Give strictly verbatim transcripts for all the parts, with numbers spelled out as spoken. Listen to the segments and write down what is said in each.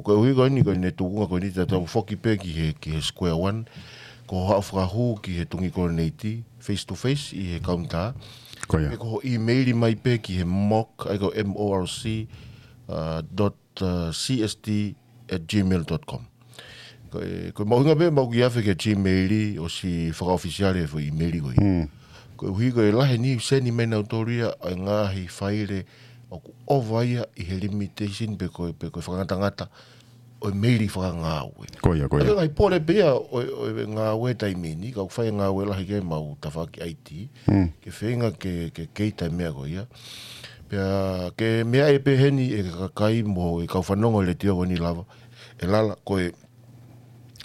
Koeʻuhi ko eni, ko eni tūkunga ko eni te tau foki pē ki he, ki he square one. Ko hoʻo fakahū ki he Tungikoloneiti, face to face ʻi he kaunitā. Ko ia. Pe ko hoʻo email mai pē ki he morc, ʻa ia ko M O R C, uh, dot, uh, C S T at gmail dot com. Ko e, ko e mahuʻinga pē mau kiʻi afe ki he Gmail ʻosi fakaʻofisiale e foʻi email ko ia. Mm. Koeʻuhi ko e lahi e niʻihi ʻoku send mai nautolu ia ʻa e ngaahi faile ʻoku ʻova ia ʻi he limitation pe ko e, pe ko e fakangatangata ʻo e meili fakangāue. Ko ia, ko ia. ʻA ia ko e ngaahi pole pē ia ʻo, ʻo e ngāue taimi ni, ka ʻoku fai e ngāue lahi ki ai ʻemau tafaʻaki I T, Mm. ke feinga ke, ke cater e meʻa ko ia. Pea ke meaʻi pē heni e kakai mo e kau fanongo he letiō ko eni Lava, ʻe Lala, ko e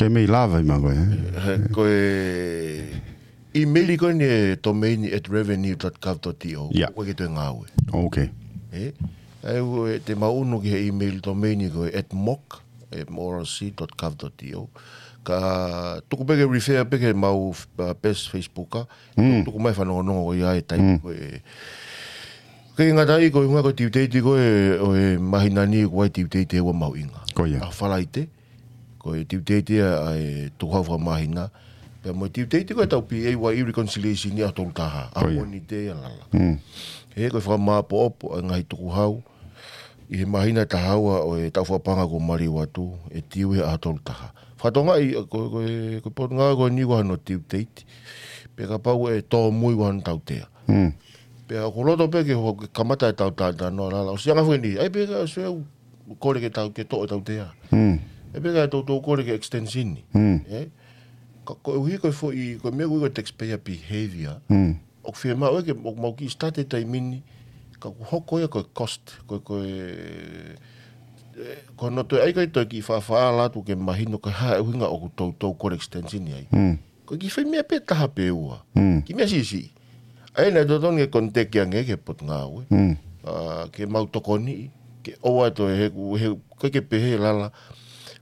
Ke mei lava ʻi mako, eh? He, ko e email ko eni e domain at revenue dot gov dot T O. Yeah. Ko e ke toe ngāue. Okay. Eh? ʻA ia ʻoku te mau ʻunu ki he email domain ko e at morc, eh, M O R C dot gov dot T O. Ka tuku pē ke refer pē ki heʻemau, uh, page Facebook, ah. Mm. Tuku mai fanongonongo ko ia e tai Mm. ko e. Ke ngata ai ko e hunga ko e due date ko e, ʻo e māhina ni ko e due date ʻe ua mahuʻinga. Ko ia. ʻA Falaite. Ko e due date ia ʻa e tukuhau fakamāhina. Pea mo e due date ko e tau P A Y E reconciliation ia ʻaho tolu taha. ʻA Ko ia. Moni te ia Lala. Mm. He ko e fakamāopoopo ʻa e ngaahi tukuhau ʻi he māhina taha ua ʻo e taʻu fakapaʻanga kuo maliu atu, ʻe due he ʻaho tolu taha. Fakatonga ʻi, ko, ko e, ko e Potungāue ko eni ʻoku ʻi ai hano due date. Pea kapau ʻe tōmui ʻoku ʻi ai hano tautea. Mm. Pea ʻoku ou loto pē ke hoko ke kamata e tau talanoa Lala. ʻOsi anga foʻi ni, ʻai pē ka ʻosi ʻeku kole ke tau, ke toʻo e tautea. Mm. ʻAi pē ka toutou kole ke extension ni. Mm. Eh? Ka koeʻuhi ko e foʻi, ko e meʻa ko e taxpayer behavior. Mm. ʻOku fiemaʻu ia ke, ʻoku mau kiʻi start he taimi ni, ka ʻoku hoko ia ko e cost, ko e, ko e, eh, ko hono toe ʻai ko e toe kiʻi faʻafaʻala atu ke mahino ko e hā e ʻuhinga ʻoku toutou kole extension ni ai. Mm. Ko e kiʻi foʻi meʻa pē taha pe ua. Mm. Kiʻi meʻa siʻisiʻi. ʻA ia naʻe totonu ke contact ange ki he Potungāue. Mm. Ah, ke mau tokoniʻi, ke ʻoua toe he, he, ko e ke pehē Lala.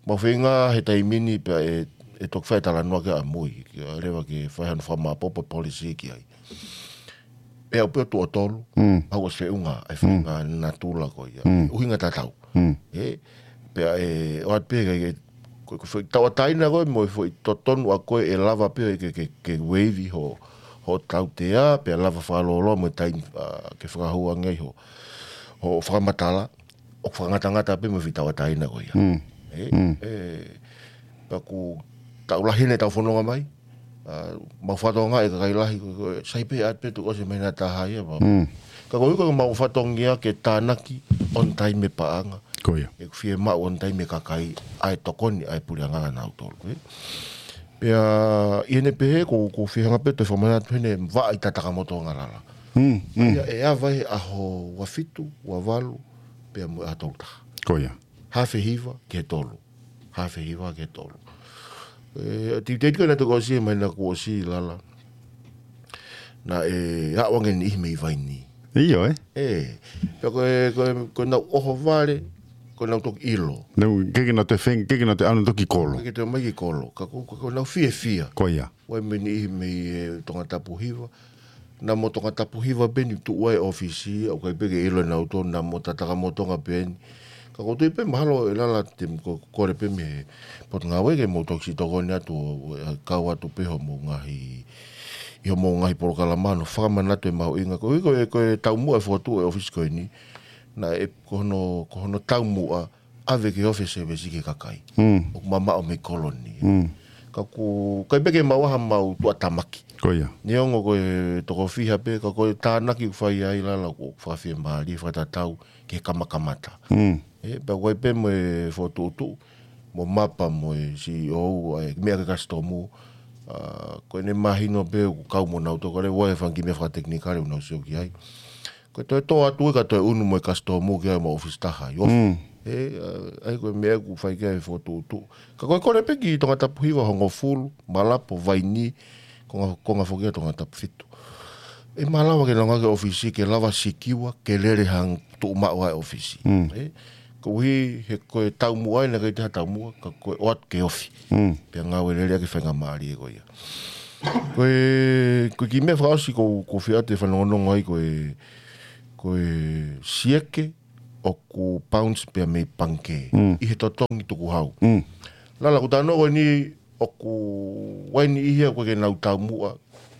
Mau feinga he taimi ni pea ʻe, ʻe toki fai e talanoa ki ai ʻamui. Ke lava ke fai hano fakamāopoopo policy ki ai. Pea ʻoku pē ʻo tuʻo tolu, Mm. ʻoku ʻosi feʻunga, ʻa e Mm. feʻunga natula ko ia. Mm. ʻUhinga tatau. Mm. Eh, pea ʻe, ʻoatu pē ke, ke, ko, ko e foʻi tauʻatāina ko ē, mo e foʻi totonu ʻa ko ē ʻe lava pē ke, ke, ke waive ho, ho tautea, pea lava fakalōloa mo e taimi, ah, ke fakahū ange ai ho, ho fakamatala, ʻoku fakangatangata pē mo e foʻi tauʻatāina ko ia. Mm. Eh, Mm. eh, pea ʻoku tau lahi ʻene tau fononga mai, ah, mau fatongia e kakai lahi, ko, ko, sai pē ʻaʻat pē tuʻu ʻosi e māhina taha ia, mau. Mm. Ka koeʻuhi ko ʻemau fatongia ke tānaki on time e paʻanga. Ko ia. ʻE fiemaʻu on time e kakai ʻa e tokoni ʻa e puleʻanga ʻanautolu, eh. Pea, ʻi heʻene pehē, ko, ʻoku ou fie hanga pē ʻo toe fakamanatu heni e vaʻa ʻi Tatakamotonga Lala. Mm, mm. Ia ʻe ava he ʻaho ua fitu, ua valu, pea mo e ʻaho tolu taha. Ko ia. Haafe hiva ki he tolu. Haafe hiva ki he tolu. Eh, due date ko ē naʻe toki ʻosi, māhina kuo ʻosi Lala. Naʻe aʻu ange e niʻihi mei Vainī. ʻIo, eh? Eh, pea ko e, ko e, ko ʻenau ʻohovale, ko ʻenau toki ʻilo. Nau, ke ke nau te feng, ke ke nau te ʻalu toki kolo. Ke ke te mai ki kolo. Ka ko, ko, ko ʻenau fiefia. Ko ia. Ua e meʻa niʻihi mei, eh, Tongatapu Hiva. Naʻa mo Tongatapu Hiva pē ʻeni tuʻu ai e ʻōfisi, ʻoku ʻikai pē ke ʻilo ʻe nautolu, naʻa mo Tatakamotonga pē ʻeni. Ka ʻoku ou tui pē mahalo ʻe Lala te mo ko, kole pē mei he Potungāue ke mou toki siʻi tokoni atu ʻo, ʻo, ʻo kau atu pē hoʻomou ngaahi, ʻi hoʻomou ngaahi polokalama, ʻo fakamanatu e mahuʻinga. Koeʻuhi ko e, ko e taumuʻa e fokotuʻu e ʻōfisi ko eni. Naʻe, ko hono, ko hono taumuʻa, ʻave ke ofi e service ki he kakai. Mm. ʻOku mamaʻo mei kolo ni. Mm. Ka ʻoku ʻikai pē ke maʻu ha mau tuʻutāmaki. Ko ia. Neongo ko e toko fiha pē, ka ko e tānaki ʻoku fai ai Lala ʻoku fakafiemālie, fakatatau ki he kamakamata. Mm. Eh, pea ʻoku ʻi ai pē mo e fokotuʻutuʻu, mo Mapa mo e C E O, ʻa e meʻa ki he kasitomu, ah, ko ʻene mahino pē ʻoku kau mo nautolu, ka ʻoku ʻi ai e fanga kiʻi meʻa fakatekinikale ʻoku nau sio ki ai. Ko e toe tō atu ka toe ʻunu mo e kasitomu ki ai mo e ʻōfisi taha, ʻi ofi. Mm. Eh, ah, ʻa ia ko e meʻa ʻoku fai ki ai e fokotuʻutuʻu. Ka ko e kole pē ki Tongatapu Hiva, Hongofulu, Malapo, Vainī, konga, konga foki ʻa Tongatapu Fitu. ʻE malava ke langa ki he ʻōfisi ke lava sikiua, ke lele hangē tuʻu maʻu ai e ʻōfisi. Mm. Eh, koeʻuhi he ko e taumuʻa ʻeni, ʻikai te ha taumuʻa, ka ko e ʻoatu ke ofi. Mm. Pea ngāue lelei ʻaki e faingamālie ko ia. Ko e, ko e kiʻi meʻa fakaʻosi ʻoku, ʻoku ou fie ʻoatu e fanongonongo ai ko e, ko e sieke, ʻoku bounce pē ia mei pangikē. ʻI he totongi tukuhau. Lala, ʻoku tau ʻilo ko eni ʻoku ʻi ai e niʻihi ia ʻoku ʻikai ke nau taumuʻa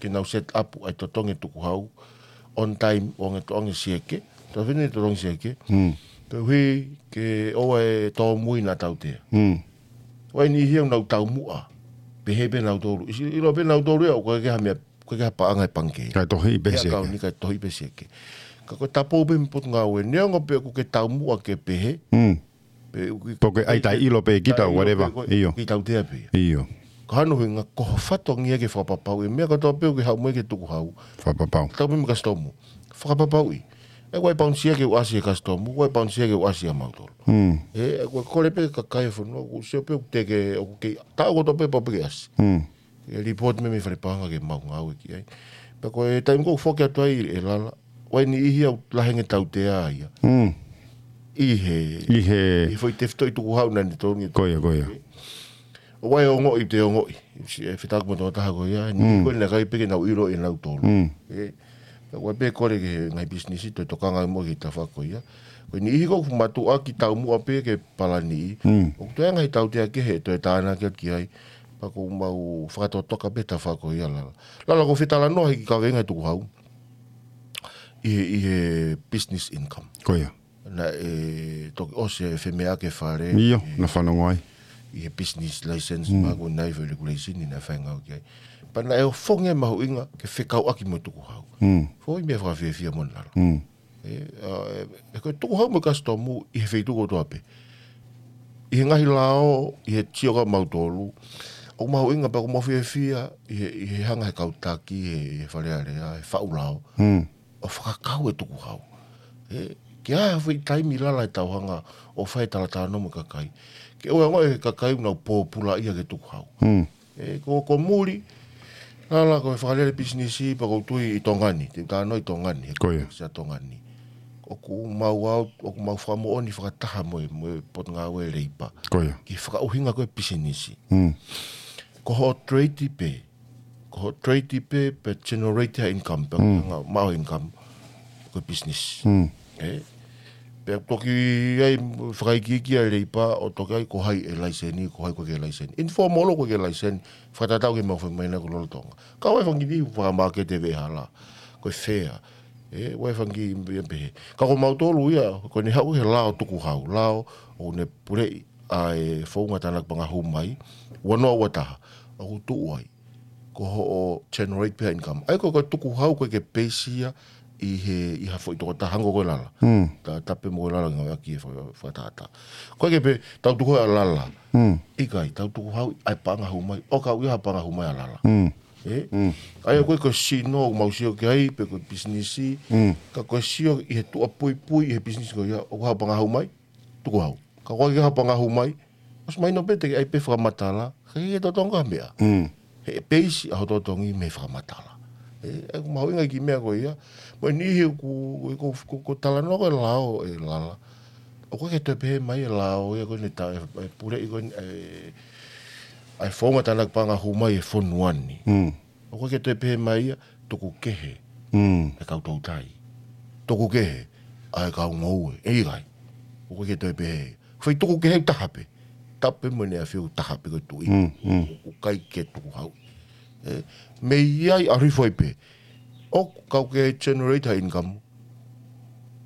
ke nau set up ʻa e totongi tukuhau on time ʻo hangē totongi sieke. Tau fini totongi sieke. Koeʻuhi ke ʻoua ʻe tōmui ʻa e tautea. ʻI ai e niʻihi ia ʻoku nau taumuʻa. Pehē pē nautolu. ʻIsi, ʻilo pē nautolu ia ʻoku ʻikai ke ha meʻa, ʻikai ke ha paʻanga ʻi pangikē. Kae tohi pē sieke. Kae tohi pē sieke. Ka ko e tapou pē mei he potungāue. Neongo pē ʻoku ke taumuʻa ke pehē. Pe ʻoku ke ʻai taʻeʻilo pē kita, whatever. ʻIo. Ke tautea pē. ʻIo. Ka hano hinga ko ho fatongia ke fakapapauʻi e meʻa kotoa pē ʻoku ke haʻu mo ia ki he tukuhau. Fakapapau. Tau pē mei kasitomu. Fakapapauʻi. ʻE, ʻoku ʻi ai e paunisia ke ʻosi e kasitomu, ʻoku ʻi ai e paunisia ke ʻosi ʻa mautolu. ʻE, ʻoku kole pē kakai e fonua, ʻoku sio pē ʻoku te ke, ʻoku ke, taʻu kotoa pē pau pē ke ʻasi. E report mei he fale paʻanga ke mau ngāue ki ai. Pea ko e taimi ko ē ʻoku foki atu ai e lala, ʻi ai e niʻihi ia ʻoku lahi ange tautea ia. ʻI he, ʻI he ʻi he foʻi tefitoʻi tukuhau naʻa ne tonu. Ko ia, ko ia. ʻOku ʻi ai e ongoʻi, te ongoʻi. Si e fetaku mo e tokotaha ko ia. Ni ko e naʻe ʻikai pē ke nau ʻilo ʻe nautolu. ʻE, ka ʻoku ʻi ai pē kole ki he ngaahi pisinisi, toe tokanga mo ki he tafaʻaki ko ia. Ko e niʻihi ko ē ʻoku mātuʻaki taumuʻa pē ke palani. ʻOku toe ngaahi tautea kehe, toe tānaki atu ki ai. Pea ʻoku mau fakatotoka pē tafaʻaki ko ia lala. Lala, ʻoku fetalanoaʻaki e kaveinga tukuhau ʻi he, ʻi he business income. Ko ia. Naʻe toki ʻosi e femeʻaʻaki e fale. ʻIo, naʻe fanongo ai. ʻI he business license, ma ko e naʻe ʻi ai e regulation naʻe fai ngāue ki ai. Pea naʻe ʻofongi e mahuʻinga ke fekauʻaki mo e tukuhau. Foʻi meʻa fakafiefia moʻoni lala. ʻE, ʻa, ʻe, ʻe ko e tukuhau mo e kasitomu ʻi he feituʻu kotoa pē. ʻI he ngaahi lao, ʻi he sio kia mautolu. ʻOku mahuʻinga pea ʻoku mau fiefia, ʻi he, ʻi he hanga he kau taki, he, he Fale Alea, he faʻu lao. ʻO fakakau e tukuhau. ʻE, ke ʻi ai ha foʻi taimi lala ʻe tau hanga ʻo fai e talatalanoa mo e kakai. Ke ʻoua ʻe ongoʻi ʻe he kakai ʻoku nau pōpula ia ki he tukuhau. ʻE, ko, ko muli, lala ko e fakalele pisinisi, pea ʻoku ou tui ʻi Tonga ni, te u talanoa ʻi Tonga ni, he Ko ia. Kontekisi ʻa Tonga ni. ʻOku mau au, ʻoku mau fakamoʻoni fakataha mo e, mo e Potungāue Leipa. Ko ia. Ki he fakaʻuhinga ko ē pisinisi. Ko hoʻo trade pē, ko hoʻo trade pē, pe generate ha income, pe ngā maʻu income, ko e business. ʻE? Pea toki ʻi ai fakaikiiki ʻa e Leipa ʻo toki ʻai ko hai e laiseni, ko hai ʻoku ʻikai ke laiseni. Informal ʻoku ʻikai ke laiseni, fakatatau ki he mau fai mai na ko lolotonga. Ka ʻoku ʻi ai e fanga kiʻi fakamākete veʻehala. Ko e fair. ʻE, ʻoku ʻi ai e fanga kiʻi meʻa pehē. Ka ko mautolu ia, ko ʻene haʻu he lao tukuhau. Lao ʻoku ne puleʻi ʻa e founga tānaki paʻanga hū mai. Ua noa ua taha. ʻOku tuʻu ai. Ko hoʻo generate pē ha income. ʻA ia ko e, ko e tukuhau ʻoku ʻikai ke base ia ʻi he, ʻi ha foʻi tokotaha hangē ko e lala. Ta, tapu pē mo e lala ngāueʻaki e fa-, fakatātā. ʻOku ʻikai ke pehē, tau tukuhau ʻa lala. ʻIkai, tau tukuhau ʻa e paʻanga hū mai. ʻOka ʻoku ʻi ai ha paʻanga hū mai ʻa lala. ʻE? ʻA ia ko e, ko e sino, ʻoku mau sio ki ai, pe ko e pisinisi. Ka ko e sio ʻi he tuʻa puipui, ʻi he pisinisi ko ia, ʻoku ʻi ai ha paʻanga hū mai, tukuhau. Ka ʻoku ʻikai ke ʻi ai ha paʻanga hū mai, ʻosi mahino pē te ke ʻai pē fakamatala, ʻikai ke totongi ha meʻa. He base ʻa hoʻo totongi mei he fakamatala. ʻE, ʻoku mahuʻinga e kiʻi meʻa ko ia. Mo e niʻihi ʻoku, ʻoku, ʻoku, ʻoku talanoa ko e lao ʻe lala. ʻOku ʻikai ke toe pehē mai e lao ia ko ʻene ta-, ʻe, ʻe puleʻi ko ʻene, ʻe, ʻa e founga tānaki paʻanga hū mai e fonua ni. ʻOku ʻikai ke toe pehē mai ia, tuku kehe. ʻA e kau toutai. Tuku kehe. ʻA e kau ngoue. ʻE ʻikai. ʻOku ʻikai ke toe pehē. Fai tuku kehe ʻoku taha pē. Tapu pē mo ʻene ʻafio ʻoku taha pē ko e tuʻi. ʻOku ʻikai ke tukuhau. ʻE, mei ai ʻa hifo ai pē. ʻOku kau ke generate ha income.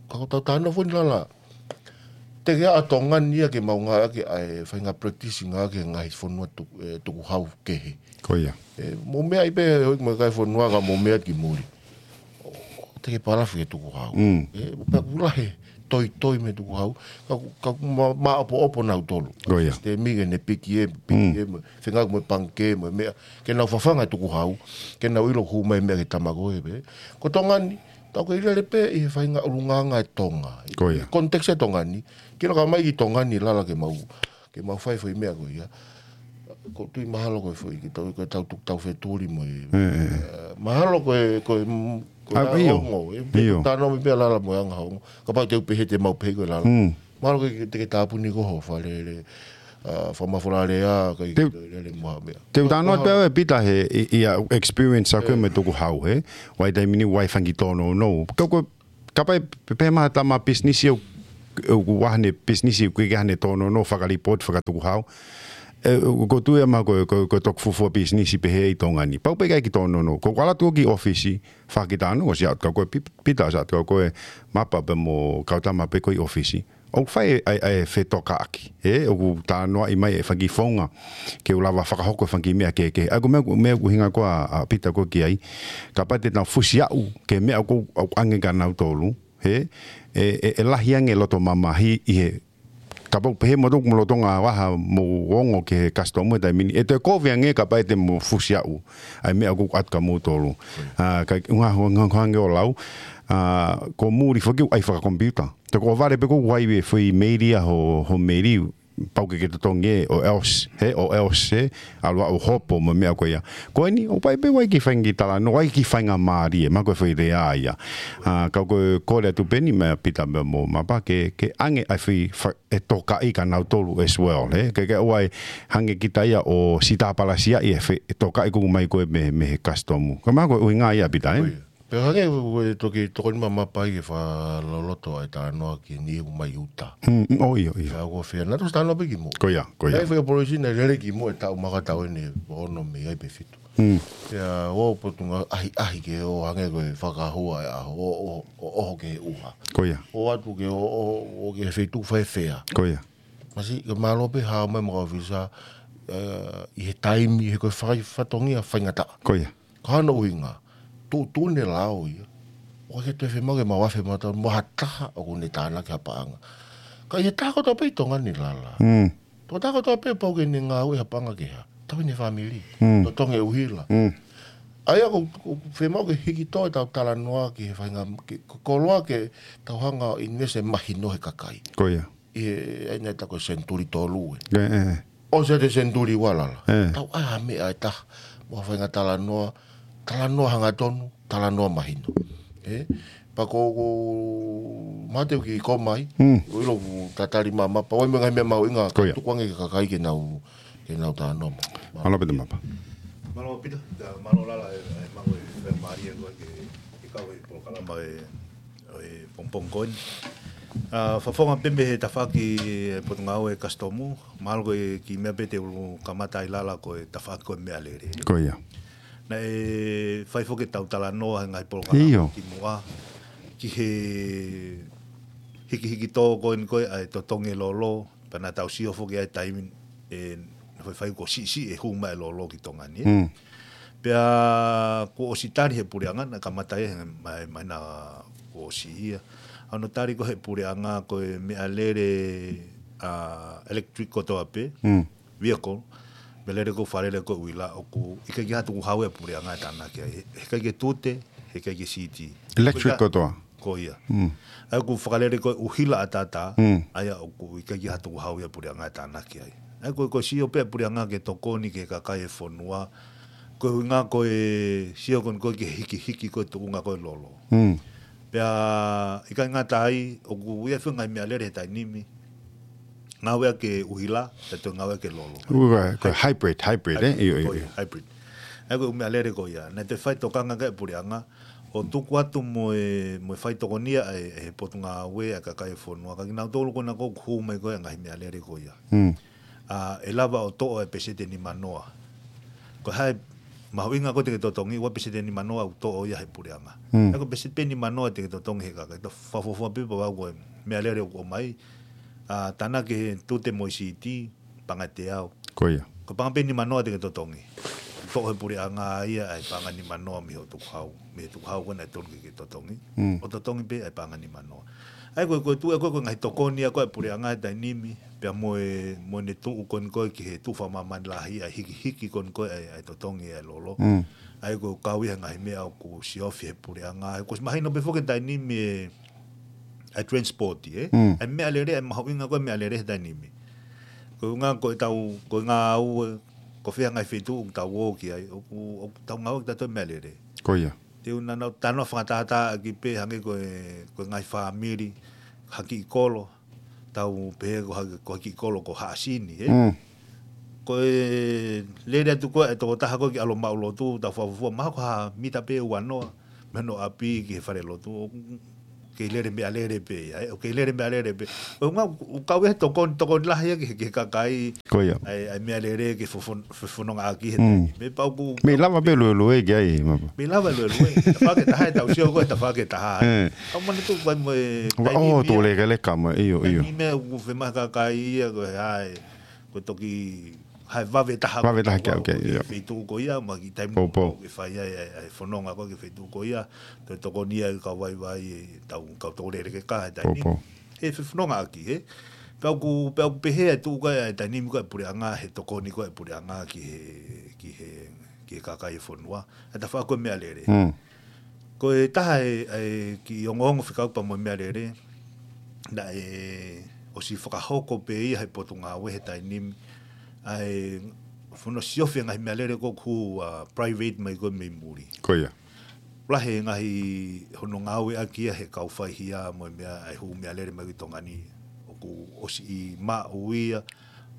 Ka ko ʻetau talanoa foki ni lala. Te ke ʻa Tonga ni ia ke mau ngāueʻaki ʻa e faʻahinga practice ngāueʻaki he ngaahi fonua tu-, ʻe, tukuhau kehe. Ko ia. ʻE, mou meʻa ai pē, hoi mo e kakai e fonua ka mou meʻa ki muli. Te ke palafi ke tukuhau. ʻE, pea ʻoku lahi e toitoi mei he tukuhau. Ka, ka ma, maʻopoʻopo nautolu. Ko ia. Te mige ne piki e, piki e, mo, fengau mo e pangikē, mo e meʻa. Ke nau fafanga e tukuhau. Ke nau ʻilo hū mai meʻa ki he tama ko ē pē. Ko Tonga ni, tau kei lele pē ʻi he faʻahinga ʻulungaanga e Tonga. Ko ia. Context e Tonga ni. Ke laka mai ki Tonga ni lala ke mau, ke mau fai foʻi meʻa ko ia. ʻOku ou tui mahalo ko e foʻi, ke tau, ke tau tuku tau fetuli mo e. ʻE, ʻe, ʻe. ʻE, mahalo ko e, ko e, ko e ʻa, ʻio. Ongo, ʻe, pe ʻIo. Tano me pea lala mo e anga ongo. Kapau te u pehē te mau pehē ko e lala. Mahalo ko e te ke tāpuni ko ho falele, ʻa, fakamafola lea, kai Te u, te u lele mo ha meʻa. Te u talanoa pē au ʻe Pita he, ʻi, ʻi a experience ʻaku mo e tukuhau, he? ʻOku ʻi ai e taimi ni ʻoku ʻi ai e fanga kiʻi tōnounou. Ka ko e, kapau ʻe pe-, pehē mai ha tama pisinisi ʻoku ʻoku ʻi ai haʻane pisinisi, ʻoku ʻikai ke ʻi ai haʻane tōnounou fakalipooti fakatukuhau. ʻE, ʻoku ou tui ʻe au mahalo ko e, ko e, ko e toki fuofua pisinisi pehē ʻi Tonga ni. Pau pē ke ʻai ki tōnounou. Ko ʻeku ʻalu atu ki he ʻōfisi, fakakitano, ʻosi ʻalu atu kau ko ē Pi-, Pita, ʻosi ʻalu atu kau ko ē Mapa pea mo Kautama pē ko ē ʻi ʻōfisi. ʻOku fai ʻa e, ʻa e fetokāʻaki. ʻE, ʻoku talanoaʻi mai e fanga kiʻi founga ke u lava fakahoko e fanga kiʻi meʻa kehekehe. ʻA ia ko e meʻa, meʻa ʻoku ʻuhinga ko ē ʻa, ʻa Pita ko ē ki ai. Kapau te nau fusi aʻu ki he meʻa ʻoku, ʻoku ʻoange kia nautolu. He, ʻe, ʻe, ʻe lahi ange e loto mamahi ʻi he, kapau pehē mo toku mo lolotonga ʻaho mo ongo ki he kasitomu he taimi ni. ʻE toe kovi ange kapau te mo fusi aʻu ʻa e meʻa ʻoku ʻoatu kia moutolu. ʻA, ka ʻuhinga, ʻuhinga, ʻuhinga ange ʻo lau, ʻa, ko muli foki ʻoku ʻai fakakomipiuta. Te ko vale pē ko ʻoku ʻai e foʻi meili ʻa ho, ho meili, pau ke ke totongi ē, or else, he, or else, he, ʻalu ʻo hopo mo e meʻa ko ia. Ko eni, ʻoku ʻi ai pē ʻa e kiʻi fainga talanoa, ʻa e kiʻi faingamālie, mahalo ko e foʻi lea ia. ʻA, ka ko e kole atu pē eni meia Pita mo Mapa ke, ke ʻoange ʻa e foʻi fa-, e tokaʻi kia nautolu as well, he. Ke, ke ʻoua ʻe hangē kita ia ʻo sitāpalasia ʻi he fe-, e tokaʻi ʻoku ʻomai ko ē mei, mei he kasitomu. Ko e mahalo ko e ʻuhinga ia Pita, ē? Ko ia. Pea hangē ko e toki tokoni mai ʻa Mapa ke fakaloloto ʻa e talanoa ki he niʻihi ʻoku mai ʻuta. Mm, mm, ʻio, ʻio. Pea ko e fē, naʻa tau ʻosi talanoa pē kimuʻa. Ko ia, ko ia. Naʻe fai e polisi naʻe lele kimuʻa e taʻu, mahalo ko e taʻu eni ʻe ono mei ai pe fitu. Mm. Pea ʻoku ou potungāue ʻahiʻahi ke ʻoange ko e fakahua e ʻaho, ʻo, ʻo, ʻo, ʻoho ki he ʻuha. Ko ia. ʻOatu ke ʻo, ʻo, ʻo ki he feituʻu faifekau. Ko ia. Masiʻi, ke mālō pē hao mai mo e kau ʻōfisa, ē, ʻi he taimi, he ko e fai-, fatongia faingataʻa. Ko ia. Ko hono ʻuhinga, tuʻutuʻuni e lao ia. ʻOku ʻikai ke toe fiemaʻu ke mau afe mata mo ha taha ʻoku ne tānaki ha paʻanga. Ka ʻi he taha kotoa pē ʻi Tonga ni Lala. Mm. Tokotaha kotoa pē pau ke ne ngāue ha paʻanga kehe. Tauhi ʻene fāmili. Mm. Totongi e ʻuhila. Mm. ʻA ia ʻoku, ʻoku fiemaʻu ke hiki tō ʻetau talanoa ki he faʻahinga, ke, ko e koloa ke tau hanga ʻo ʻinivesi e mahino he kakai. Ko ia. ʻI he, ʻa ia naʻe tā ko e senituli tolu ē. ʻE, ʻe, ʻe. ʻOsi ʻa e senituli ua Lala. ʻE. Tau ʻai ha meʻa ʻe taha. Mo ha faʻahinga talanoa, talanoa hangatonu, talanoa mahino. ʻE? Pea ko, ko, mate ki ko mai, Mm. ʻo ʻilo ʻoku tatali mai ʻa Mapa, ʻoku ʻi ai mo e ngaahi meʻa mahuʻinga, Ko ia. tuku ange ki he kakai ke nau, ke nau talanoa mai. Mālō Pita Mapa. Mālō Pita, ʻa, mālō Lala, ʻe, ʻe, mālō e, ʻe, mālie ko ē ke, ke kau he polokalama ʻo e, ʻo e pongipongi ko eni. ʻA, fakafofonga pē mei he tafaʻaki e Potungāue Kasitomu, mahalo ko e kiʻi meʻa pē te u kamata ai Lala ko e tafaʻaki ko e meʻalele. Ko ia. Naʻe fai foki ʻetau talanoa he ngaahi polokalama ʻIo. kimuʻa, ki he hikihiki tō ko eni ko ē ʻa e totongi e lolo, pea naʻa tau sio foki ʻa e taimi ʻe, naʻe faifai kuo siʻisiʻi e hū mai e lolo ki Tonga ni. Mm. Pea kuo ʻosi tali he puleʻanga, naʻe kamata ia he mai, mai naʻa kuo ʻosi ia. ʻA hono tali ko ē he puleʻanga ko e meʻalele, ʻa, electric kotoa pē, Mm. vehicle, meʻalele ko e fakalele ko ē ʻuhila ʻoku ʻikai ke ʻi ai ha tukuhau ia ʻa e puleʻanga ʻe tānaki ai. He, heʻikai ke tute, heʻikai ke siti. Electric Ko ia. kotoa. Ko ia. Mm. ʻA ia ko e fakalele ko ē ʻuhila ʻataʻatā, Mm. ʻa ia ʻoku ʻikai ke ʻi ai ha tukuhau ia ʻa e puleʻanga ʻe tānaki ai. ʻA ia ko e, ko e sio pē ʻa e puleʻanga ke tokoni ki he kakai e fonua, ko e ʻuhinga ko e sio ko eni ko ē ki he hikihiki ko ē tuʻunga ko ē lolo. Mm. Pea ʻikai ngata ai, ʻoku ʻi ai foki e ngaahi meʻalele he taimi ni, ngāueʻaki e ʻuhila, pea toe ngāueʻaki e lolo. Ua, ko e hybrid, hybrid, ē? Hybrid, ʻIo, ʻio, ko ia, ʻio. hybrid. ʻA ia ko e meʻalele ko ia. Naʻe toe fai tokanga ki ai e puleʻanga, ʻo tuku atu mo e, mo e fai tokonia ʻa e, ʻa e Potungāue ʻa e kakai e fonua. Ka kinautolu ko ena ʻoku hū mai ko ē ngaahi meʻalele ko ia. Mm. ʻA, ʻe lava ʻo toʻo e peseti ʻe nimanoa. Ko e hā e mahuʻinga ko ē te ke totongi, ua peseti ʻe nimanoa ʻoku toʻo ia he puleʻanga. Mm. ʻA ia ko e peseti pē ʻe nimanoa te ke totongi he kakai. Tau fakafuofua pē pea ʻoku ʻi ai e meʻalele ʻoku ʻomai, ʻa, tānaki he tute mo e siti, paʻanga ʻe teau. Ko ia. Ko e paʻanga pē ʻe nimanoa te ke totongi. Toʻo he puleʻanga ia ʻa e paʻanga ʻe nimanoa mei hoʻo tukuhau, mei he tukuhau ko ē naʻe tonu ke ke totongi. Mm. ʻO totongi pē ʻa e paʻanga ʻe nimanoa. ʻA ia ko e, ko e tuʻu ē ko ē ko e ngaahi tokoni ia ko ē ʻa e puleʻanga he taimi ni, pea mo e, mo ʻene tuʻu ko eni ko ē ki he tuʻu fakamāmani lahi ʻa e hikihiki ko eni ko ē ʻa e, ʻa e totongi ʻa e lolo. Mm. ʻA ia ko e kau ia he ngaahi meʻa ʻoku siofi he puleʻanga. ʻA ia ko e mahino pē foki he taimi ni e, ʻa e transport, ē? Mm. ʻA e meʻalele, ʻa e mahuʻinga ko ē meʻalele he taimi ni. Ko e ʻuhinga ko ʻetau, ko e ngāue, ko e fē ngaahi feituʻu ʻoku tau ō ki ai, ʻoku, ʻoku tau ngāueʻaki ʻe tautolu e meʻalele. Ko ia. Te u naʻa nau talanoa fakatātā ʻaki pē hangē ko e, ko e ngaahi fāmili, ha kiʻi kolo, tau pehē ko ha, ko ha kiʻi kolo ko Haʻasini, ē? Mm. Ko e lele atu ko ē e tokotaha ko ē ki ʻAlo Maʻulotu, tau fakafuofua, mahalo ko ha mita pē ʻe uanoa, mei hono ʻapi ki he falelotu, ʻo, kei lele meʻalele pē ia, ē, ʻoku kei lele meʻalele pē. ʻO ngā, ʻoku kau ia he tokoni, tokoni lahi ia ki he, ki he kakai, Ko ia. ʻa e, ʻa e meʻalele ke fofon-, fefonongaʻaki he taimi. Meʻa pau ʻoku Mei lava pē luelue ki ai, mapa. Mei lava luelue. Tafaʻaki ʻe taha ʻe tau sio ko e tafaʻaki ʻe taha. ʻE. Kau mana tu kai mo e Wa, taimi ʻo, ia. Tuʻulekeleka mai, ʻio, ʻio. Taimi meʻa ʻoku fema kakai ia ko e hae. Ko e toki hae vave taha. Vave taha ki au, Ko ke, ʻio. Feituʻu ko ia, ma ki taimi Pou, pou. Ke fai ai, ai, ai fononga ko ke feituʻu ko ia. Toe tokoni ia kau vaivai e tau, kau tōlele ke ka he taimi. Pou, pou. He fefonongaʻaki, he. Pea ʻoku, pea ʻoku pehē ʻa e tuʻu ko e taimi ko e puleʻanga, he tokoni ko e puleʻanga ki he, ki he, ki he kakai e fonua. ʻA e tafaʻaki ko e meʻalele. Mm. Ko e taha e, e ki ongoongo fekauʻaki pea mo e meʻalele, naʻe ʻosi fakahoko pē ia he potungāue he taimi, ʻa e fono siofi e ngaahi meʻalele ko ʻoku hū ʻa private mai ko e mei muli. Ko ia. Lahi e ngaahi hono ngāueʻaki ia he kau faihia mo e meʻa ʻa e hū meʻalele mai ki Tonga ni. ʻOku ʻosi ʻi maʻu ia,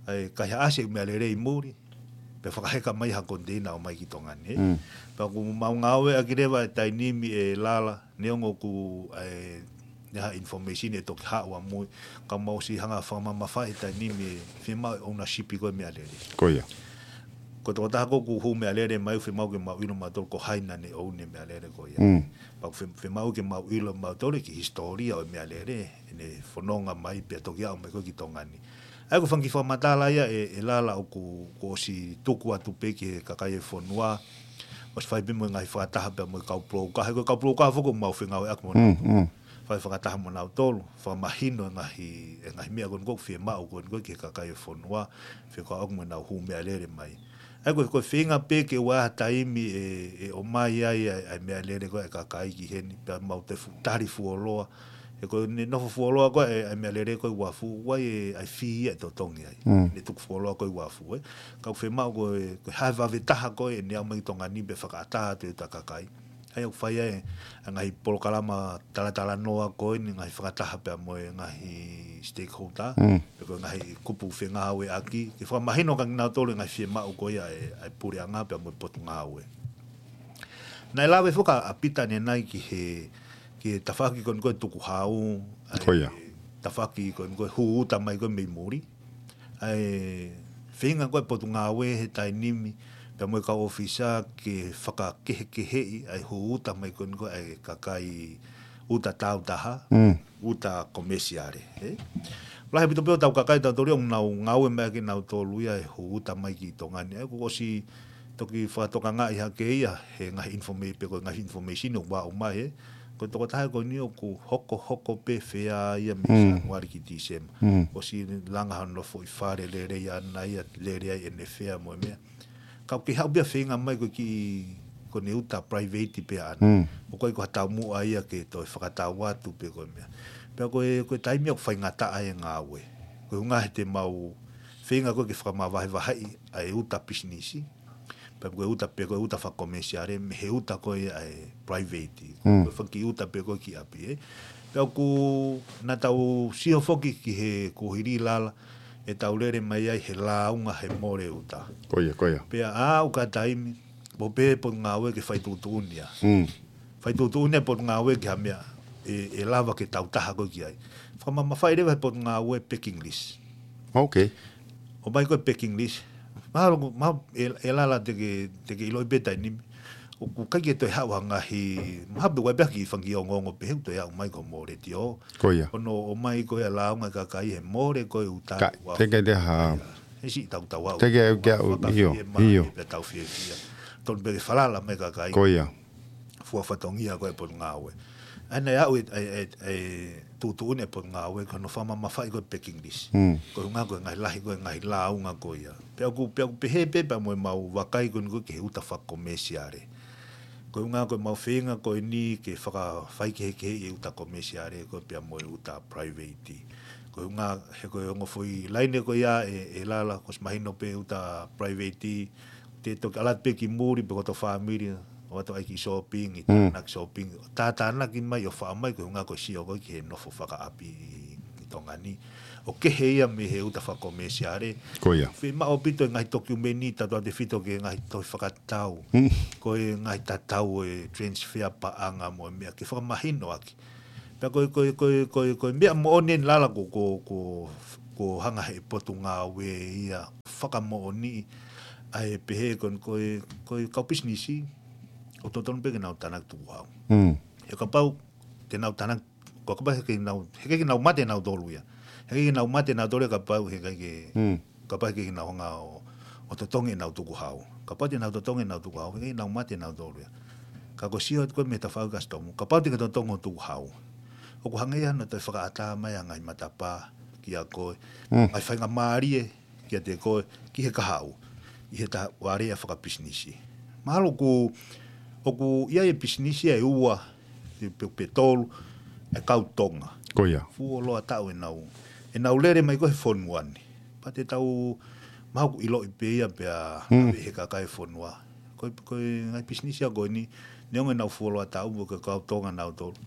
ʻa e kaihaʻasi e meʻalele ʻi muli, pea fakaheka mai ha konteina ʻo mai ki Tonga ni, ē. Mm. Pea ʻoku mau ngāueʻaki leva e taimi ʻe Lala, neongo ʻoku ʻi ai ha information ʻe toki haʻu ʻamui, ka mau ʻosi hanga fakamamafaʻi e taimi ʻe fiemaʻu e ownership ko e meʻalele. Ko ia. Ko e tokotaha ko ʻoku hū meʻalele mai ʻoku fiemaʻu ke mau ʻilo mautolu ko hai naʻa ne ʻouni e meʻalele ko ia. Mm. Pea ʻoku fie-, fiemaʻu ke mau ʻilo mautolu ki hisitōlia ʻo e meʻalele, ʻene fononga mai pea toki aʻu mai ko e ki Tonga ni. ʻA ia ko e fanga kiʻi fakamatala ia ʻe, ʻe Lala ʻoku, kuo ʻosi tuku atu pē ki he kakai e fonua, ʻosi fai pē mo e ngaahi fakataha pea mo e kau pulou ka, he ko e kau pulou ka foki ʻoku mau fengāueʻaki mo nautolu. Mm, mm. Fai fakataha mo nautolu, fakamahino e ngaahi, e ngaahi meʻa ko eni ko ʻoku fiemaʻu ko eni ko e ki he kakai e fonua, fekauʻaki mo ʻenau hū meʻalele mai. ʻA ia ko e, ko e feinga pē ke ʻoua ha taimi ʻe, ʻe ʻomai ai, ʻa e, ʻa e meʻalele ko e kakai ki heni, pea mau te fu-, tali fuoloa. He ko ʻene nofo fuoloa ko e, ʻa e meʻalele ko e uafu, ʻoku ʻi ai e, ʻa e fee ʻe totongi ai. Mm. Ne tuku fuoloa ko e uafu, ē. Ka ʻoku fiemaʻu ko e, ko e hae vave taha ko e, ʻene aʻu mai ki Tonga ni pea fakaʻatā atu e uta kakai. ʻA ia ʻoku fai ai, ʻa e ngaahi polokalama talatalanoa ko eni, ngaahi fakataha pea mo e ngaahi stakeholder. Mm. Pe ko e ngaahi kupu fengāueʻaki, ke fakamahino kia kinautolu e ngaahi fiemaʻu ko ia ʻa e, ʻa e puleʻanga pea mo e potungāue. Naʻe lave foki ʻa Pita ʻanenai ki he, ki he tafaʻaki ko eni ko e tukuhau, ʻa e Ko ia. tafaʻaki ko eni ko e hū uta mai ko e mei muli. ʻA e feinga ko e potungāue he taimi ni, pea mo e kau ʻōfisa ke fakakehekeheʻi ʻa e hū uta mai ko eni ko e ʻa e kakai uta tāutaha, Mm. uta komesiale, ē? Lahi ʻaupito pē ʻo tau kakai tautolu ia ʻoku nau ngāue mai kinautolu ia he hū uta mai ki Tonga ni. ʻA ia kuo ʻosi toki fakatokangaʻi hake ia he ngaahi informa-, pe ko e ngaahi information ʻoku aʻu mai, ē? Ko e tokotaha ko eni ʻoku hokohoko pē fea ia mei Mm. Sānuali ki Tīsema. Mm. ʻOsi langa hono foʻi fale lelei ʻaʻana ia, lele ai ʻene fea mo e meʻa. Ka ʻoku kei haʻu pē ia feinga mai ko e kiʻi, ko ʻene uta private pē ʻaʻana. Mm. ʻOku ʻikai ko ha taumuʻa ia ke toe fakatau atu pe ko e meʻa. Pea ko e, ko e taimi ʻoku faingataʻa e ngāue. Ko e ʻuhinga he te mau feinga ko e ke fakamavahevaheʻi ʻa e uta pisinisi. Pea ko e uta pe ko e uta fakakomesiale, mei he uta ko e ʻa e private. Mm. Ko e fanga kiʻi uta pe ko e ki ʻapi, ē. Pea ʻoku, naʻa tau sio foki ki he kuohili Lala, ʻe tau lele mai ai he lāunga he mole uta. Ko ia, ko ia. Pea ʻa ʻoku ʻi ai e taimi, ʻoku pehē potungāue ke fai tuʻutuʻuni ia. Mm. Fai tuʻutuʻuni e potungāue ki ha meʻa, ʻe, ʻe lava ke tau taha ko e ki ai. Fakamamafaʻi leva he potungāue packing list. Ok. ʻOmai ko e packing list. Mahalo, mahalo, ʻe, ʻe Lala te ke, te ke ʻiloʻi pē taimi ni. ʻOku ʻikai ke toe haʻu ha ngaahi, mahalo pē ʻoku ʻi ai pē ha kiʻi fanga kiʻi ongoongo pehē ʻoku toe aʻu mai ko e mole tio. Ko ia. Ko hono ʻomai ko e lāunga e kakai he mole ko e uta Ka, uafu. Te ke te ha. He siʻi tau tau aʻu. Te ke ke aʻu, Fakafie ʻio, mai ʻio. Pea tau fiefia. Tonu pē ke falala mai kakai. Ko ia. Fua fatongia ko e potungāue. ʻA ia naʻe aʻu e, e, e, e tuʻutuʻuni e potungāue, ko hono fakamamafaʻi ko e packing list. Mm. Ko e ʻuhinga ko e ngaahi lahi ko e ngaahi lāunga ko ia. Pea ʻoku, pea ʻoku pehē pē pea mo e mau vakai ko eni ko e ki he uta fakakomesiale. Ko e ʻuhinga ko e mau feinga ko eni ke fakafaikehekeheʻi e uta komesiale ko e pea mo e uta private. Ko e ʻuhinga he ko e ongo foʻi laine ko ia ʻe, ʻe Lala, kuo ʻosi mahino pē uta private, te toki ʻalu atu pē ki muli pe ko hoto fāmili, ʻo ʻalu atu ai ki shopping, ʻi Mm. tānaki shopping, tātānaki mai ʻo faʻa mai ko e ʻuhinga ko e sio ko e ki he nofo fakaʻapi ʻi, ʻi Tonga ni. ʻOku kehe ia mei he uta fakakomesiale. Ko ia. Fiemaʻu ʻaupito e ngaahi tokiumeni, tautautefito ki he ngaahi tohi fakatau. Mm. Ko e ngaahi tatau e transfer paʻanga mo e meʻa ke fakamahinoʻaki. Pea ko e, ko e, ko e, ko e, ko e meʻa moʻoni eni Lala ko, ko, ko, ko hanga he Potungāue ia fakamoʻoni ʻa e pehē ko, ko e, ko e kau pisinisi ʻoku totonu pē ke nau tānaki tukuhau. He kapau te nau tānaki, ko kapau he ʻikai ke nau, he ʻikai ke nau mate nautolu ia. He ʻikai ke nau mate nautolu ia kapau he ʻikai ke, kapau he ʻikai ke nau hanga ʻo, ʻo totongi ʻenau tukuhau. Kapau te nau totongi ʻenau tukuhau, he ʻikai ke nau mate nautolu ia. Ka ko e sio atu ko e mei he tafaʻaki kasitomu, kapau te ke totongi ho tukuhau, ʻoku hangē ia hono toe fakaʻatā mai ʻa e ngaahi matapā kiate koe, ngaahi faingamālie kiate koe, ki he kahaʻu, ʻi he taha ʻo e aleaʻi fakapisinisi. Mahalo ʻoku, ʻoku ʻi ai e pisinisi ʻe ua, pe, pe tolu, ʻa e kau Tonga. Ko ia. Fuoloa taʻu ʻenau, ʻenau lele mai ko ē he fonua ni. Pea te tau, mahalo ʻoku ʻiloʻi pē ia pea ʻave he kakai e fonua. Ko e, ko e ngaahi pisinisi ia ko eni, neongo ʻenau fuoloa taʻu mo e kau Tonga nautolu.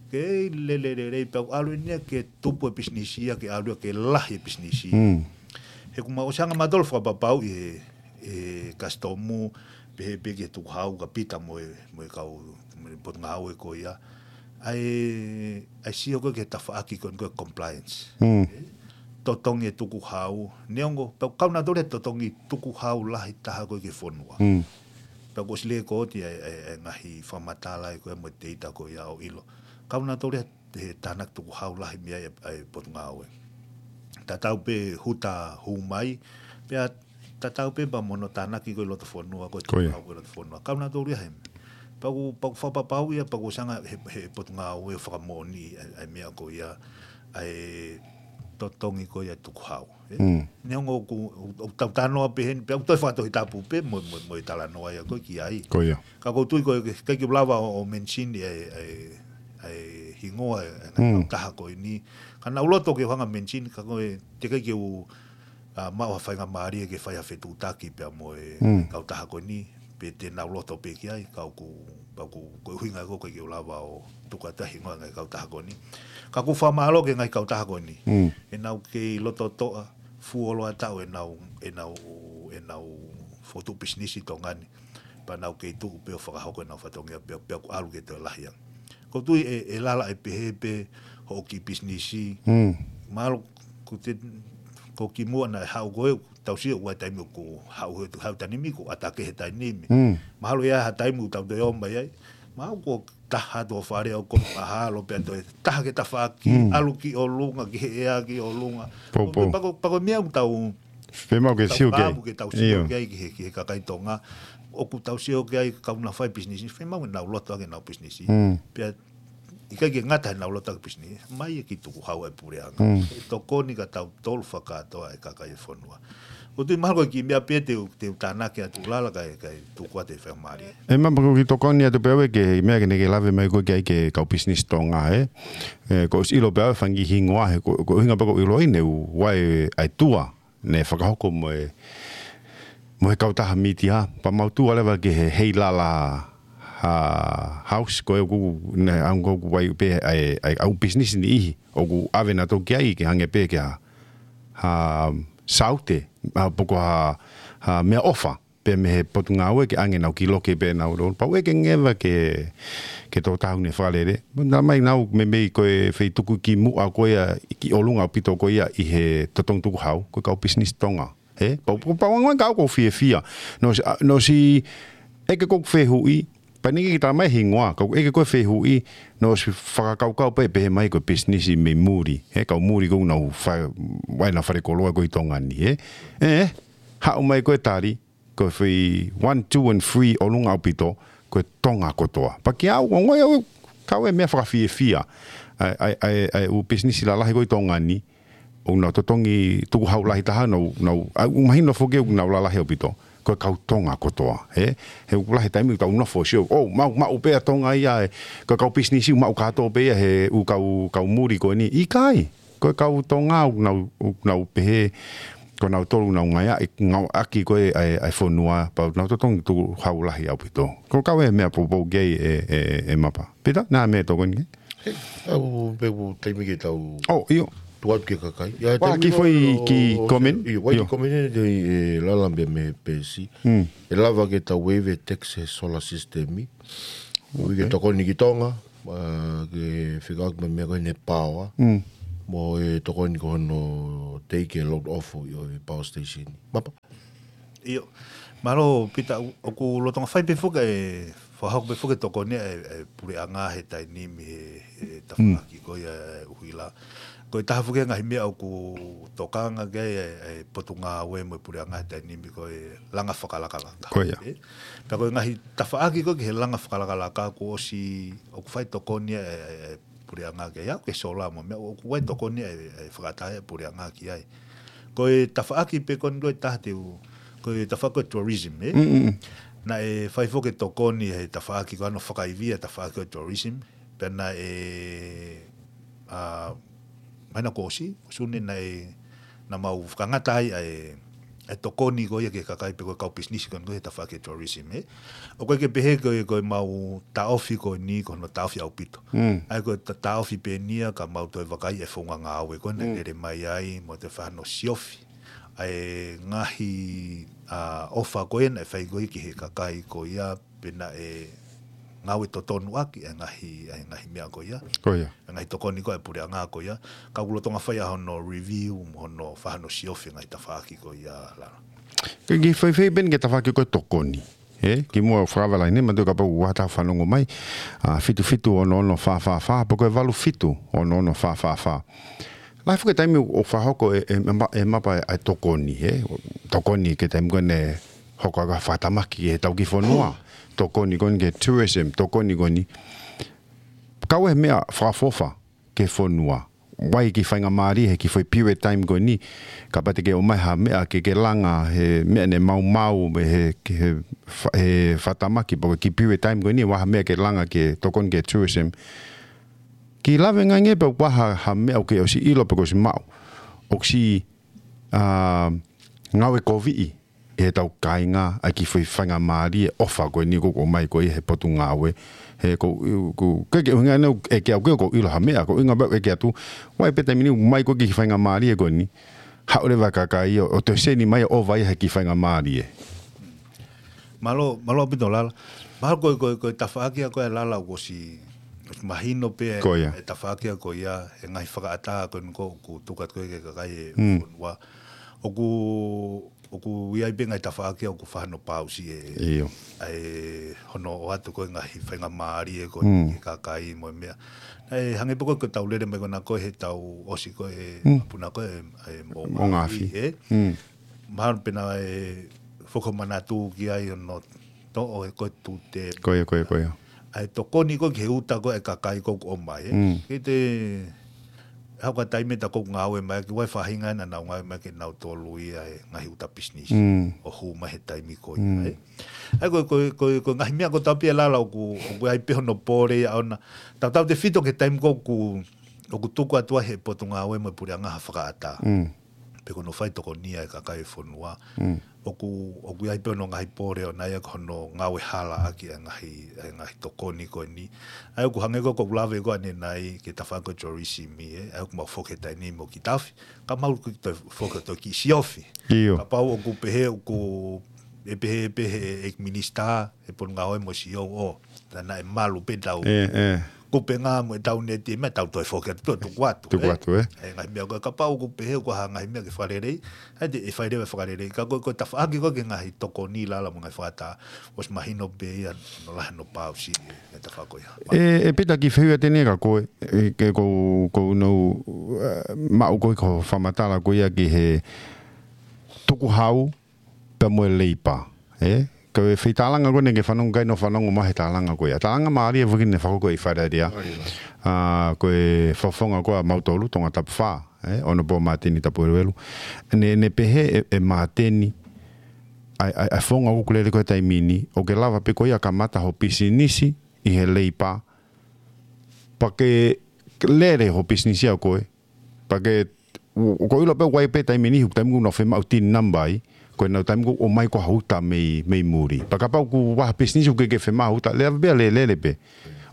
Kei lele lelei pea ʻoku ʻalu eni ia ke tupu e pisinisi ia, ke ʻalu ia ke lahi e pisinisi. He ʻoku mau ʻosi hanga mautolu ʻo fakapapauʻi he, he kasitomu, pehē pē ki he tukuhau ka Pita mo e, mo e kau, mo e Potungāue ko ia. ʻA e, ʻa e sio ko ē ki he tafaʻaki ko ē ko e compliance. Totongi e tukuhau. Neongo, pea ʻoku kau nautolu he totongi tukuhau lahi taha ko ē ki he fonua. Pea ʻoku ʻosi lēkooti ʻa e, ʻa e, ʻa e ngaahi fakamatala ko ē mo e teita ko ia ʻo ʻilo. Kau nautolu he, he tānaki tukuhau lahi mei ai ʻa e, ʻa e Potungāue. Tatau pē Huta hū mai, pea tatau pē pea mo hono tānaki ko ē ʻi loto fonua, ko e tukuhau ko ē ʻi loto fonua. Kau nautolu ia he. Pea ʻoku, pea ʻoku fakapapauʻi ia, pea ʻoku ʻosi hanga he, he Potungāue ʻo fakamoʻoniʻi ʻa e, ʻa e meʻa ko ia, ʻa e totongi ko ia tukuhau. Neongo ʻoku, ʻoku tau talanoa pē heni, pea ʻoku toe fakatohitapu pē mo, mo, mo e talanoa ia ko ē ki ai. Ko ia. Ka ʻoku ou tui ko e, ʻikai ke u lava ʻo, ʻo mention ʻa e, ʻa e, ʻa e hingoa ʻa e, ʻa e kautaha ko eni. Ka naʻa ku loto ke u hanga mention, ka ko e, teʻeki ke u, ʻa, maʻu ha faingamālie ke fai ha fetuʻutaki pea mo e kautaha ko eni, pe te nau loto pē ki ai, ka ʻoku, pea ʻoku, ko e ʻuhinga ko ē ʻikai ke u lava ʻo tuku atu e hingoa e ngaahi kautaha ko eni. Ka ʻoku ou fakamālō ki he ngaahi kautaha ko eni. ʻEnau kei loto toʻa, fuoloa taʻu ʻenau, ʻenau, ʻenau fokotuʻu pisinisi ʻi Tonga ni. Pea nau kei tuʻu pē ʻo fakahoko ʻenau fatongia pea, pea ʻoku ʻalu ke toe lahi ange. ʻOku ou tui ʻe, ʻe Lala ʻe pehē pē hoʻo kiʻi pisinisi. Mahalo ko te, ko kimuʻa naʻe haʻu ko ē, tau sio ʻoku ʻi ai e taimi ʻoku haʻu he, haʻu taimi ʻoku ʻatā ki he taimi ni. Mahalo ʻe ʻi ai ha taimi ʻoku tau toe ō mai ai. Mahalo ko e taha atu ʻo fale ʻo ko mahalo pea toe taha ki he tafaʻaki, ʻalu ki ʻolunga, ki he ʻea ki ʻolunga. Pea ko, pea ko e meʻa ʻoku tau, fiemaʻu ke tau sio ki ai. Ke tau sio ki ai ki he, ki he kakai Tonga. ʻOku tau sio ki ai kau naʻa fai pisinisi, fiemaʻu ke nau loto ʻaki ʻenau pisinisi. Pea ʻikai ke ngata heʻenau loto ʻaki pisinisi, mai e kiʻi tukuhau ʻa e puleʻanga. ʻE tokoni kia tautolu fakakātoa e kakai e fonua. ʻOku ou tui mahalo ko e kiʻi meʻa pē te u, te u tānaki atu Lala kae, kae tuku atu e faingamālie. ʻE Mapa, ko e kiʻi tokoni atu pē ʻe au ki he meʻa ko ē naʻa ke lave mai ko ē ki ai ki he kau pisinisi Tonga, ē. ʻE, ʻoku ou ʻosi ʻilo pē ʻe au e fanga kiʻi hingoa he, ko, ko e ʻuhinga pē ʻoku ou ʻiloʻi naʻe ʻi ai e, ʻa e tour naʻe fakahoko mo e, mo e kautaha mītia, pea mau tour leva ki he Heilala, ʻa, House, ko ē ʻoku, naʻe ʻalu ʻo ʻai pē ʻa e, ʻa e, ʻa e ʻū pisinisi niʻihi ʻoku ʻave nautolu ki ai ke hangē pē ko ha, ha saute, ʻa, pe ko ha, ha meʻaʻofa pē mei he Potungāue ke ʻoange ʻenau kiʻi loki pē ʻenau lolo. Pea ʻoku ʻikai ke ngata ke, ke tō taha ʻene fakalele. Naʻa mai ʻenau meimei ko e feituʻu kimuʻa ko ia ki ʻolunga ʻaupito ko ia ʻi he totongi tukuhau, ko e kau pisinisi Tonga. Ē? Pea, pea, pea ʻoku ou fiefia. Naʻe ʻosi, ʻa, naʻe ʻosi ʻeke ko ē ʻeku fehuʻi, pea naʻe ʻikai ke talamai e hingoa, ka ʻeku ʻeke ko ē e fehuʻi, naʻe ʻosi fakakaukau pē, pehē mai ko e pisinisi mei muli. Ē, kau muli ko ē ʻoku nau fa-, ʻi ai ʻenau falekoloa ko ē ʻi Tonga ni, ē? Ē, haʻu mai ko ē e tali, ko e foʻi one, two and three ʻolunga ʻaupito, ko e Tonga kotoa. Pea kiate au, ʻoku ou ongoʻi au, kau e meʻa fakafiefia. ʻA e, ʻa e, ʻa e, ʻa e ʻū pisinisi lalahi ko ē ʻi Tonga ni, ʻoku nau totongi tukuhau lahi taha, nau, nau, ʻa, ʻoku mahino foki ʻoku nau lalahi ʻaupito. Ko e kau Tonga kotoa, ē? He ʻoku lahi e taimi ʻoku tau nofo ʻo sio, ʻo, maʻu, maʻu pē ʻa Tonga ia, ē, ko e kau pisinisi ʻoku maʻu kātoa pē ia he ʻū kau, kau muli ko eni. ʻIkai. Ko e kau Tonga ʻoku nau, ʻoku nau pehē, ko nautolu ʻoku nau ngāueʻaki, ngāueʻaki ko ē ʻa e, ʻa e fonua, pea nau totongi tukuhau lahi ʻaupito. Ko e kau e meʻa poupou ki ai ē, ē, ē Mapa. Pita, naʻa meʻa tokoni ki ai? He, ʻoku pē ʻoku taimi ke tau ʻo, ʻio. Tuku atu ki he kakai. ʻIa, ʻa e taimi kiʻi foʻi ʻo, kiʻi ʻo, comment? ʻIo, ʻoku ʻi ai e comment ʻeni ʻe Lala pē mei Pesi. ʻE lava ke tau waive tax he solar system. ʻOku ʻikai ke tokoni ki Tonga. ʻa, ke fekauʻaki mo e meʻa ko eni power. Mm. Mo e tokoni ko hono take e load off ʻo e power station. Mapa. ʻIo. Mālō, Pita, ʻo-, ʻoku lolotonga fai pē foki e, fakahoko pē foki e tokoni ʻa e, e puleʻanga he taimi ni he, he tafaʻaki ko ia e ʻuhila. Ko e taha foki e ngaahi meʻa ʻoku tokanga ki ai e, e potungāue mo e puleʻanga he taimi ni ko e langa fakalakalaka. Ko ia. ʻE? Pea ko e ngaahi tafaʻaki ko ē ki he langa fakalakalaka kuo ʻosi ʻoku fai tokoni e, e, e puleʻanga ki ai, ʻa ia ko e solar mo e meʻa ʻoku fai tokoni e, e fakaʻatā e puleʻanga ki ai. Ko e tafaʻaki pē ko eni ko e taha te u, ko e tafaʻaki ko e tourism, ē? Mm, mm, mm. Naʻe fai foki e tokoni he tafaʻaki ko hono fakaivia tafaʻaki ko e tourism, pea naʻe, ʻa, māhina kuo ʻosi, Sune naʻe, naʻa mau fakangata ai ʻa e, e tokoni ko ia ki he kakai pe ko e kau pisinisi ko eni ko e tafaʻaki e tourism, ē. ʻOku ʻikai ke pehē ko e, ko e mau taʻofi ko eni, ko hono taʻofi ʻaupito. Mm. ʻA ia ko e ta-, taʻofi pē eni ia ka mau toe vakai e founga ngāue ko ē naʻe Mm. lele mai ai, mo toe fai hano siofi. ʻA e ngaahi, ʻa, ʻofa ko ē naʻe fai ko ē ki he kakai ko ia, pe naʻe ngāue totonu ʻaki e ngaahi, e ngaahi meʻa ko ia. Ko ia. E ngaahi tokoni ko ē e puleʻanga ko ia. Ka ʻoku lolotonga fai ʻa hono review, mo hono fai hano siofi e ngaahi tafaʻaki ko ia, Lala. Ke ki fai fai pē eni ki he tafaʻaki ko e tokoni. Ē, kimuʻa fakavala ʻeni, manatuʻi kapau ʻoku ʻi ai ha taha fanongo mai, ʻa, fitu fitu ono ono fā fā fā, pe ko e valu fitu ono ono fā fā fā. Lahi foki e taimi ʻoku fakahoko e, e, e ma-, e mapa e, e tokoni, ē? Tokoni ki he taimi ko ē naʻe hoko ʻa e fakatamaki ki he tau kiʻi fonua. Tokoni ko eni ki he tourism, tokoni ko eni. Kau e meʻa fakaʻofoʻofa ki he fonua. Vakai ki he faingamālie he kiʻi foʻi period time ko eni. Kapau te ke ʻomai ha meʻa ke ke langa he meʻa naʻe maumau, mo e he, ki he fa-, he fakatamaki pe ko e kiʻi period time ko eni, ʻomai ha meʻa ke langa ke tokoni ki he tourism. Kiʻi lave ngāue pē ʻoku ʻi ai ha, ha meʻa ʻoku ke ʻosi ʻilo pe kuo ʻosi maʻu. ʻOku siʻi, ʻa, ngāue koviʻi ʻe he tau kāinga ʻa e kiʻi foʻi faingamālie ʻofa ko eni ʻoku ʻomai ko ē he potungāue. He ko, ko, ke ke ʻuhinga ʻeni ʻe ke au ke ʻoku ʻilo ha meʻa, ko e ʻuhinga pē ʻeku ʻeke atu. Vakai pē taimi ni ʻoku ʻomai ko ē kiʻi faingamālie ko eni. Haʻu leva e kakai ʻo, ʻo toe seni mai ʻo ʻova ia he kiʻi faingamālie. Mālō, mālō ʻaupito Lala. Mahalo ko e, ko e, ko e tafaʻaki ia ko ē Lala ʻoku ʻosi, ʻosi mahino pē Ko ia. e tafaʻaki ia ko ia, e ngaahi fakaʻatā ko eni ʻoku tuku atu ko ē ki he kakai e Mm. fonua. ʻOku, ʻoku ʻi ai pē ngaahi tafaʻaki ʻoku fai hano pausi e, ʻIo. ʻa e hono ʻoatu ko ē ngaahi faingamālie ko ē Mm. ki he kakai mo e meʻa. Naʻe hangē pē ko e ko e tau lele mai ko ena ko ē he tau ʻosi ko ē Mm. puna ko ē, e Moʻunga Afi, Moʻunga Afi. ʻE? Mm. Mahalo pē naʻe fakamanatu ki ai hono toʻo e ko e tute. Ko ia, ko ia, ko ia. ʻA e tokoni ko ē ki he uta ko ē e kakai ko ē ʻoku ʻomai, ē. Mm. Ke te, ʻi he hoko e taimi ʻe taha ʻoku ngāue mai, ki he faʻahinga naʻa nau ngāue mai kinautolu ia he ngaahi uta pisinisi. Mm. ʻO hū mai he taimi ko ia, Mm. ē. ʻA ia ko e, ko e, ko e, ko e ngaahi meʻa ko ē tau pehē Lala ʻoku, ʻoku ʻi ai pē hono pole ia ʻona. Tautautefito ki he taimi ko ē ʻoku, ʻoku tuku atu ai he potungāue mo e puleʻanga ha fakaʻatā. Mm. Pe ko hono fai tokonia e kakai e fonua. Mm. ʻOku, ʻoku ʻi ai pē hono ngaahi pole ʻona ia ko hono ngāue hala ʻaki e ngaahi, e ngaahi tokoni ko eni. ʻA ia ʻoku hangē ko ē ʻoku ou lave ko ē ʻanenai ki he tafaʻaki ko e tourism ē. ʻA ia ʻoku mau foki he taimi ni mo e kiʻi taʻofi. Ka mau kiʻi toe foki toe kiʻi siofi. ʻIo. Kapau ʻoku pehē ʻoku, ʻe pehē, pehē ʻe he minisitā, ʻe he potungāue mo e C O O. Naʻa, naʻe malu pē tau. ʻE, ʻe. Kupenga mo e tau neti, meʻa tau toe foki atu, toe tuku atu, Tuku ē? atu, ē? ʻE, ngaahi meʻa ko ē kapau ʻoku pehē ʻoku ʻi ai ha ngaahi meʻa ke fakalelei, ʻa ia te, ʻe fai leva e fakalelei. Ka ko e, ko e tafaʻaki ko ē ki he ngaahi tokoni Lala mo e ngaahi fakaʻatā, ʻosi mahino pē ia, hono lahi hono pausi, ʻe, e tafaʻaki ko ia. ʻE, ʻe Pita kiʻi fehuʻi atu ʻeni kia koe, ʻe, ke ko, ko hono, ʻe, maʻu ko ē ko e fakamatala ko ia ki he tukuhau, pea mo e leipa, ē? Ko e foʻi tālanga ko eni ke fanongo ki ai, naʻa ku fanongo mai he tālanga ko ia. Tālanga mālie foki naʻe fakahoko ʻi Fale Alea. ʻA, ko e fakafofonga ko ia ʻa mautolu, Tongatapu fā, ē? ʻOnopō Māteni Tapueluelu. Naʻe, naʻe pehē ʻe, ʻe Māteni, ʻa e, ʻa e, ʻa e founga ʻoku lele ko ē he taimi ni, ʻoku ke lava pē koe ʻo kamata hoʻo pisinisi ʻi he leipa, pea ke lele hoʻo pisinisi ʻa koe, pea ke, ʻo, ʻoku ou ʻilo pē ʻoku ʻi ai pē taimi ni, taimi ʻoku nau fiemaʻu TIN number ai, ko ʻenau taimi ʻoku ʻomai ko ē ha uta mei, mei muli. Pea kapau ʻoku ʻi ai ha pisinisi ʻoku ʻikai ke fiemaʻu ha uta, lele pē, lele, lele pē.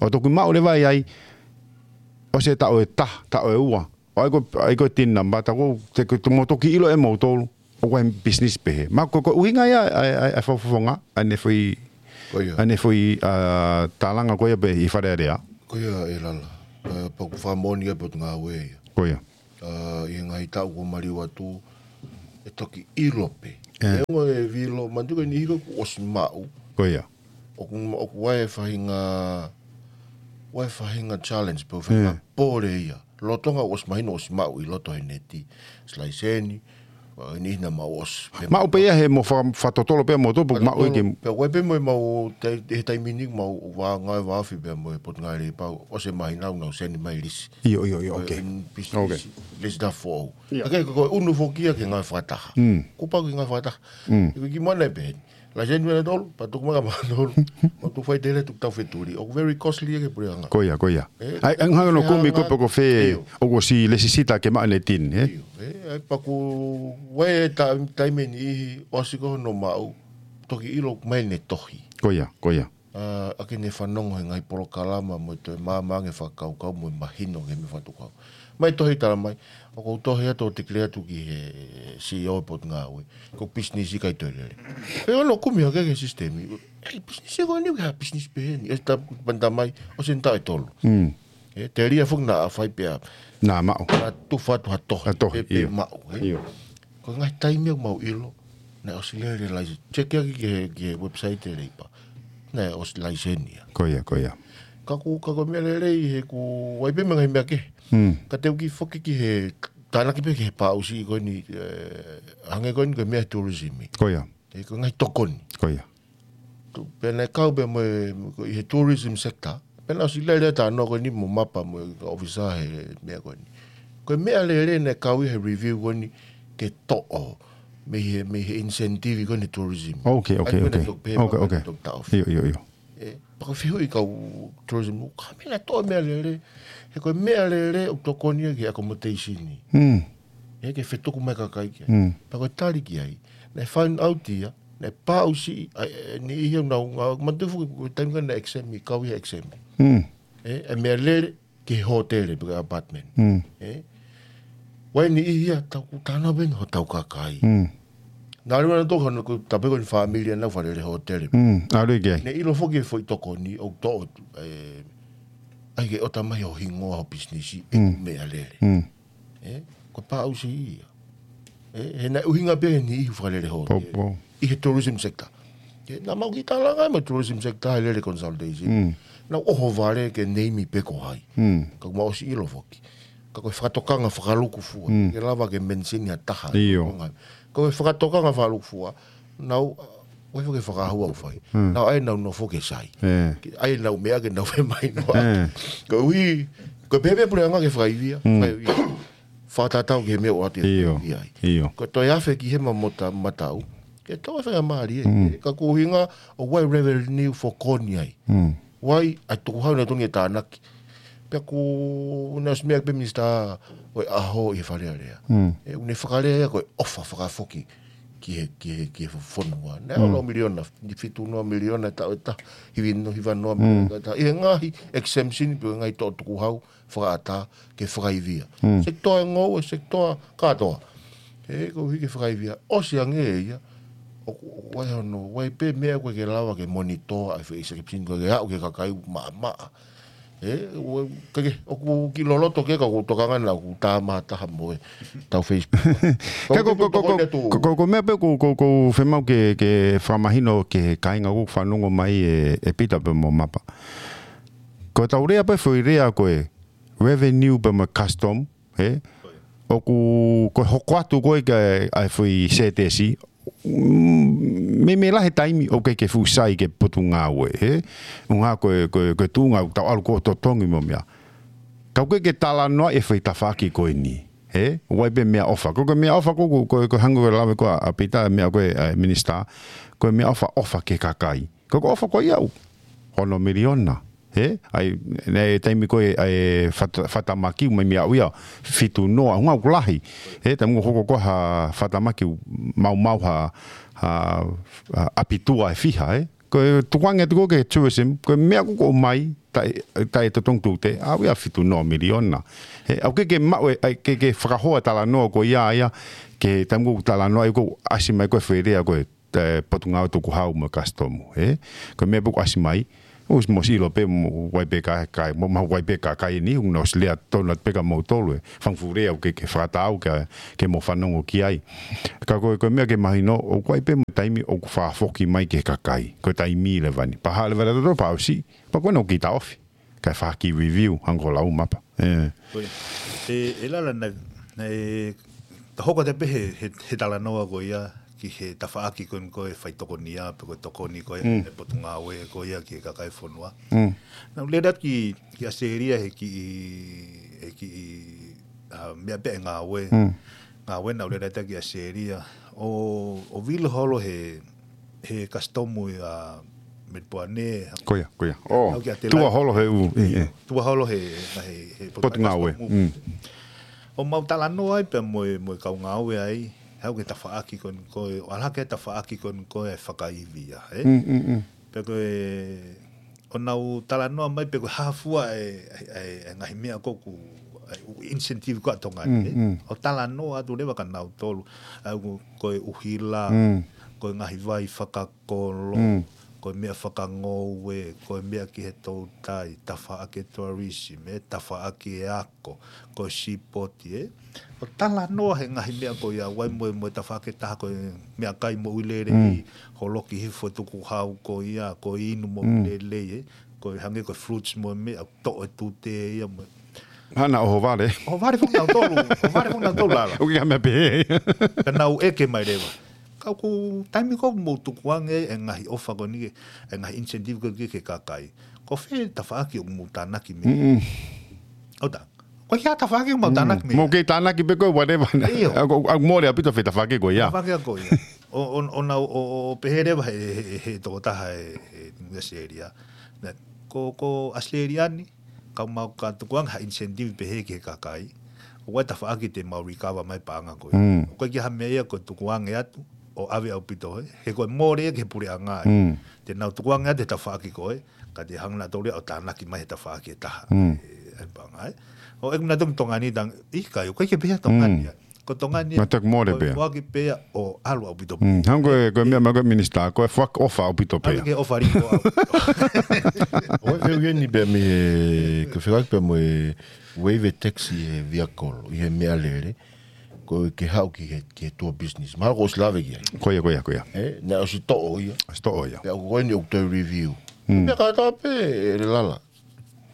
ʻO toki maʻu leva ai, ʻosi e taʻu ʻe taha, taʻu ʻe ua. ʻO ʻai ko ē, ʻai ko ē TIN number, taʻu ko ē, te, te mou toki ʻilo ʻe moutolu ʻoku ʻi ai e pisinisi pehē. Mahalo ko e, ko e ʻuhinga ia ʻa e, ʻa e, ʻa e fakafofonga, ʻa ʻene foʻi, Ko ia. ʻa ʻene foʻi, ʻa, tālanga ko ia pē ʻi Fale Alea. Ia, ʻe lala. Pea ʻoku fakamoʻoni ʻa e Potungāue ia. Ko ia. ʻI he ngaahi taʻu kuo maliu atu, ʻe toki ʻilo pē. ʻE. ʻE ongo e vilo, manatu ko e niʻihi ko ē kuo ʻosi maʻu. Ko ia. ʻOku, ʻoku ʻi ai e faʻahinga, ʻi ai e faʻahinga challenge, pe faʻahinga pole ia. Lolotonga ʻosi mahino ʻosi maʻu ʻi loto he neti. Silaiseni, ʻa e niʻihi naʻa mau ʻosi. Maʻu pē ia he mo fa-, fakatotolo pē mo tupu, maʻu i ke. Pea ʻoku ʻi ai pē mo e mau, tai-, he taimi ni mau vā ngāue vāofi pē mo e Potungāue Lepa, ʻosi mahino naʻa nau seni mai lisi. ʻIo, ʻio, ʻio, ok. Lisi taha foʻou. ʻIo. Ka ko e ʻunu foki ia ke ngāue fakataha. Kuo pau ke ngāue fakataha. ʻIo, ko e kiʻi mana pē. Laiseni mena tolu, pea tuku mai ka mena tolu. Mau tuku faitele tuku tau fetuli. ʻOku very costly ia ki he puleʻanga. Ko ia, ko ia. ʻE, ʻai, ʻai hanga no kumi ko e poko fe, ʻio, ʻoku ʻosi lesisita ke maʻu e neti ni, ē? ʻIo, ʻe, ʻai paku, ʻi ai e ta-, taimi ʻe niʻihi, ʻosi ko hono maʻu, toki ʻilo mai ne tohi. Ko ia, ko ia. ʻA, ʻa ke ne fanongo he ngaahi polokalama mo e toe maama ange fakakaukau mo e mahino ke me fatukau. Mai tohi tala mai, ʻoku ou tohi atu ʻo declare atu ki he C E O Potungāue. Ko e pisinisi ʻikai toe lele. Pea ʻoku kumi hake ki he sisitemi. ʻE, pisinisi ko eni, ha pisinisi pehē ni. ʻE ta panta mai, ʻosi eni taʻu ʻe tolu. ʻE, telia foki naʻa fai pea. Naʻa maʻu. Naʻa tufa atu ha tohi. Ha tohi, pe, pe ʻio. Maʻu, ē? ʻIo. Ko e ngaahi taimi ʻoku mau ʻilo, naʻe ʻosi lele laiseni. Check ia ki he, ki he website e Leipa. Naʻe ʻosi laiseni ia. Ko ia, ko ia. Ka ko, ka ko e meʻa lelei he ko e ʻi ai pē mo e ngaahi meʻa kehe. Ka te u kiʻi foki ki he, tānaki pē ki he paʻusi ko eni, ʻe, hangē ko eni ko e meʻa tourism. Ko ia. ʻE, ko e ngaahi tokoni. Ko ia. Tu, pea naʻe kau pē mo e, ko e ʻi he tourism sector. Pea naʻe ʻosi lele ʻa e talanoa ko eni mo Mapa mo e kau ʻōfisa he meʻa ko eni. Ko e meʻa lele naʻe kau ʻi he review ko eni ke toʻo. Mei he, mei he incentive ko eni tourism. Ok, ok, ok. ʻAi ko eni toki pehē, ok, ok. Toki taʻofi. ʻIo, ʻio, ʻio. ʻE, pea ko e fehuʻi kau tourism, ka meʻa naʻe toʻo meʻa lele. He ko e meʻa lele ʻoku tokoni ia ki he accommodation ni. ʻE, ke fetuku mai kakai ki ai. Pea ko e tali ki ai. Naʻe find out ia, naʻe paʻusi, ʻa e, ʻe, niʻihi ʻoku nau ngāue, manatu foki ko e taimi ko ē naʻe exempt, kau ia exempt. ʻE, ʻe meʻa lele ki he hōtele pe ko e apartment. ʻE, ʻi ai niʻihi ia, tau ku tana pē hotau kakai. Naʻa lua na toko hano ko tape ko ni family ʻa nau fakalele hōtele. ʻAlu i ke. Naʻe ʻilo foki e foʻi tokoni, ʻoku toʻo, ʻe, ʻai ke ʻota mai ho hingoa ho pisinisi, ʻe meʻa lele. ʻE, ko e paʻusi ia. ʻE, he naʻe ʻuhinga pē he niʻihi fakalele hōtele. ʻI he tourism sector. ʻE, naʻa mau kiʻi talanga mo e tourism sector he lele consultation. Naʻa ʻohovale ke name pē ko hai. Ka mau ʻosi ʻilo foki. Ka ko e fakatokanga fakalukufua. Ke lava ke mention ha taha. ʻIo. Ko e fakatokanga fakalukufua. Naʻa, ʻoku ʻi ai foki e fakahua ʻoku fai. Naʻa ʻai nau nofo ke sai. Ke ʻai nau meʻa ke nau fai mai noa. Koeʻuhi, ko e pehē pē puleʻanga ke fakaivia. Fakaivia. Fakatatau ki he meʻa ʻoku ʻoatu ʻi ai. ʻIo. Ko e toe afe ki he ma mota mataʻu. Ke toe fai a mali ē. Ka ko e ʻuhinga, ʻoku ʻi ai revenue fokoni ai. ʻOku ʻi ai, ʻa e tukuhau naʻe tonu ke tānaki. Pea ko e ʻuhinga ʻosi meʻa pē minisitā ʻo e ʻaho ʻi he Fale Alea. ʻE, ʻoku ne fakalea ia ko e ʻofa fakafoki ki he, ki he, ki he fonua. Naʻe ʻalu miliona, ni fitu noa miliona taʻu ʻe taha, hiva noa, hiva noa miliona taʻu ʻe taha. ʻI he ngaahi exemption pe ko e ngaahi toʻo tukuhau, fakaʻatā ke fakaivia. Sekitoa e ngoue, sekitoa kātoa. ʻE, koeʻuhi ke fakaivia. ʻOsi ange ia, ʻoku, ʻoku ʻi ai hono, ʻoku ʻi ai pē meʻa ʻoku ʻikai ke lava ke monitor ʻa e foʻi exception ko ē ke aʻu ki he kakai maʻamaʻa. ʻE, ʻoku, ke, ke, ʻoku kiʻi loloto ke ka ʻoku tokanga naʻa ʻoku tā maha taha mo e tau Facebook. Ka ko, ko, ko, ko, ko, ko, ko meʻa pē ko, ko, ko femau ke, ke fakamahino ke kāinga ʻoku fanongo mai ʻe, ʻe Pita pe mo Mapa. Ko e tau lea pē foʻi lea ko e revenue pe mo e custom, ē? ʻOku, ko e hoko atu ko ē ka ʻai foʻi sētesi, mm, meimei lahi e taimi ʻoku ʻikai ke fuʻu sai ki he Potungāue, ē? ʻUhinga ko e, ko e, ko e tuʻunga ʻoku tau ʻalu ko ē ʻo totongi mo e meʻa. Ka ʻoku ʻikai ke talanoa e foʻi tafaʻaki ko eni, ē? ʻOku ʻi ai pē meʻaʻofa. Ko e, ko e meʻaʻofa ko, ko, ko, ko e hangē ko e lave ko ē ʻa Pita meʻa ko ē ʻa e minisitā. Ko e meʻaʻofa, ʻofa ki he kakai. Ko e ʻofa ko ia ʻoku hono miliona. Ē? ʻAi, naʻe taimi ko ē, ʻai fata-, fatamaki ʻoku mai mei aʻu ia, fitu noa, ʻuhinga ʻoku lahi. Ē, taimi ʻoku hoko ko ē ha fatamaki ʻoku maumau ha, ha, ha ʻapi tua ʻe fiha, ē. Ko e tukuange atu ko ē ki he tourism, ko e meʻa ko ē ʻoku ʻomai, taʻe, taʻe totongi tute, aʻu ia fitu noa miliona. Ē, ʻoku ʻikai ke maʻu ē, ʻai ke, ke fakahoa talanoa ko ia ia, ki he taimi ʻoku talanoa ai ʻoku ʻasi mai ko ē foʻi lea ko e ʻa e Potungāue Tukuhau mo e Kasitomu, ē? Ko e meʻa pē ʻoku ʻasi mai, ʻOsi mo silo pē mo ʻai pē ka, ka, mo maʻu ʻai pē kakai ni, ʻoku nau ʻosi lea tonu atu pē kia moutolu ē. Fanga fuʻu lea ʻoku ke, ke fakatatau ke, ke mo fanongo ki ai. Ka ko e, ko e meʻa ke mahino, ʻoku ʻi ai pē mo e taimi ʻoku fakafoki mai ki he kakai. Ko e taimi leva ni. Pea haʻu leva ʻa e tautolu pea ʻosi. Pea ko ena ʻoku ke taʻofi. Kae fai ha kiʻi review, hangē ko e lau mapa. ʻE. Ko ia. ʻE, ʻe Lala naʻe, naʻe, ta hoko atu pē he, he, he talanoa ko ia, ki he tafaʻaki ko eni ko e faitokonia, pe ko e tokoni ko ia, Mm. ʻe he Potungāue ko ia ki he kakai fonua. Mm. Naʻa ku lele atu ki, ki ʻAositelēlia he kiʻi, he kiʻi, ʻa, meʻa pē ʻa e ngāue. Mm. Ngāue naʻa ku lele atu ki ʻAositelēlia. ʻO, ʻo vilo holo he, he kasitomu ia Melipoane. Ko ia, ko ia. ʻO, Au ki ʻAtelaita. Tua holo he ʻū, ʻi, ʻi. Tua holo he, he, he Potungāue. Kasitomu. Mm. ʻO mau talanoa ai pea mo e, mo e kau ngāue ai, haʻu ki he tafaʻaki ko eni ko e, ʻo ʻalu hake tafaʻaki ko eni ko e fakaivia, ē? Mm, mm, mm. Pea ko e, ʻo nau talanoa mai pē ko e hā fua e, e, e, e ngaahi meʻa ko ē ʻoku, e, ʻū incentive ko ē ʻa Tonga ni, Mm, ē? mm. ʻO talanoa atu leva kia nautolu, ʻa ia ko e ʻuhila, Mm. ko e ngaahi vai fakakolo, Mm. ko e meʻa fakangoue, ko e meʻa ki he toutai, tafaʻaki e tourism, ē, tafaʻaki e ako, ko e sipoti, ē. ʻO talanoa he ngaahi meʻa ko ia, ʻoku ʻi ai mo e, mo e tafaʻaki ʻe taha ko e meʻakai moʻui lelei, Mm. holoki hifo e tukuhau ko ia, ko e inu moʻui Mm. lelei, ē. Ko e hangē ko e fruits mo e meʻa, toʻo e tute ia mo e. Hana ʻohovale. ʻOhovale foki nautolu, ʻohovale foki nautolu Lala. ʻOku ʻikai ha meʻa pehē. Ka nau ʻeke mai leva. Ka ʻoku taimi ko ē ʻoku mou tukuange e ngaahi ʻofa ko eni, e ngaahi incentive ko eni ki he kakai. Ko fē tafaʻaki ʻoku mou tānaki mei ai? Mm-mm. ʻOku ʻikai ha tafaʻaki ʻoku mau Mm. tānaki mei ai. Mou kei tānaki pē ko e whatever. ʻIo. ʻOku, ʻoku mole ʻaupito fē tafaʻaki ko ia. Tafaʻaki ko ia. ʻO, ʻo, ʻo nau, ʻo, ʻo, ʻo pehē leva he, he, he tokotaha e, e, ʻi ʻAositelēlia. Naʻe, ko, ko ʻAositelēlia ni, ka mau ka tukuange ha incentive pehē ki he kakai. ʻOku ʻi ai e tafaʻaki te mau recover mai e paʻanga ko ia. Mm. ʻOku ʻikai ke ʻi ai ha meʻa ia ko e tukuange atu, ʻo ʻave ʻaupito ē. He ko e mole ia ki he puleʻanga ē. Mm. Te nau tukuange atu e tafaʻaki ko ē, ka te hanga nautolu ia ʻo tānaki mai he tafaʻaki ʻe taha. Mm. ʻE, ʻe paʻanga ē. ʻO ʻeku manatu ki Tonga ni tang, ʻikai, ʻoku ʻikai ke pehē ʻa Tonga Mm. ni ē. Ko Tonga ni ē. Mata ke mole Ko e pē. foaki pē ia ʻo ʻalu ʻaupito pē. Mm. Hangē ko e, ko e meʻa mai ko e minisitā, ko e foaki ʻofa ʻaupito pē. Hangē ke ʻofa ʻaupito. ʻOku ou fie ʻai eni pē mei he, ko e fekauʻaki pē mo e waive tax ʻi he vehicle, ʻi he meʻalele. Ko e ke haʻu ki he, ki he tour business. Mahalo kuo ʻosi lave ki ai. Ko ia, ko ia, ko ia. Ē, naʻe ʻosi toʻo ia. ʻOsi toʻo ia. Pea ko eni ʻoku toe review. Mm. Meʻa kātoa pē, ʻe Lala.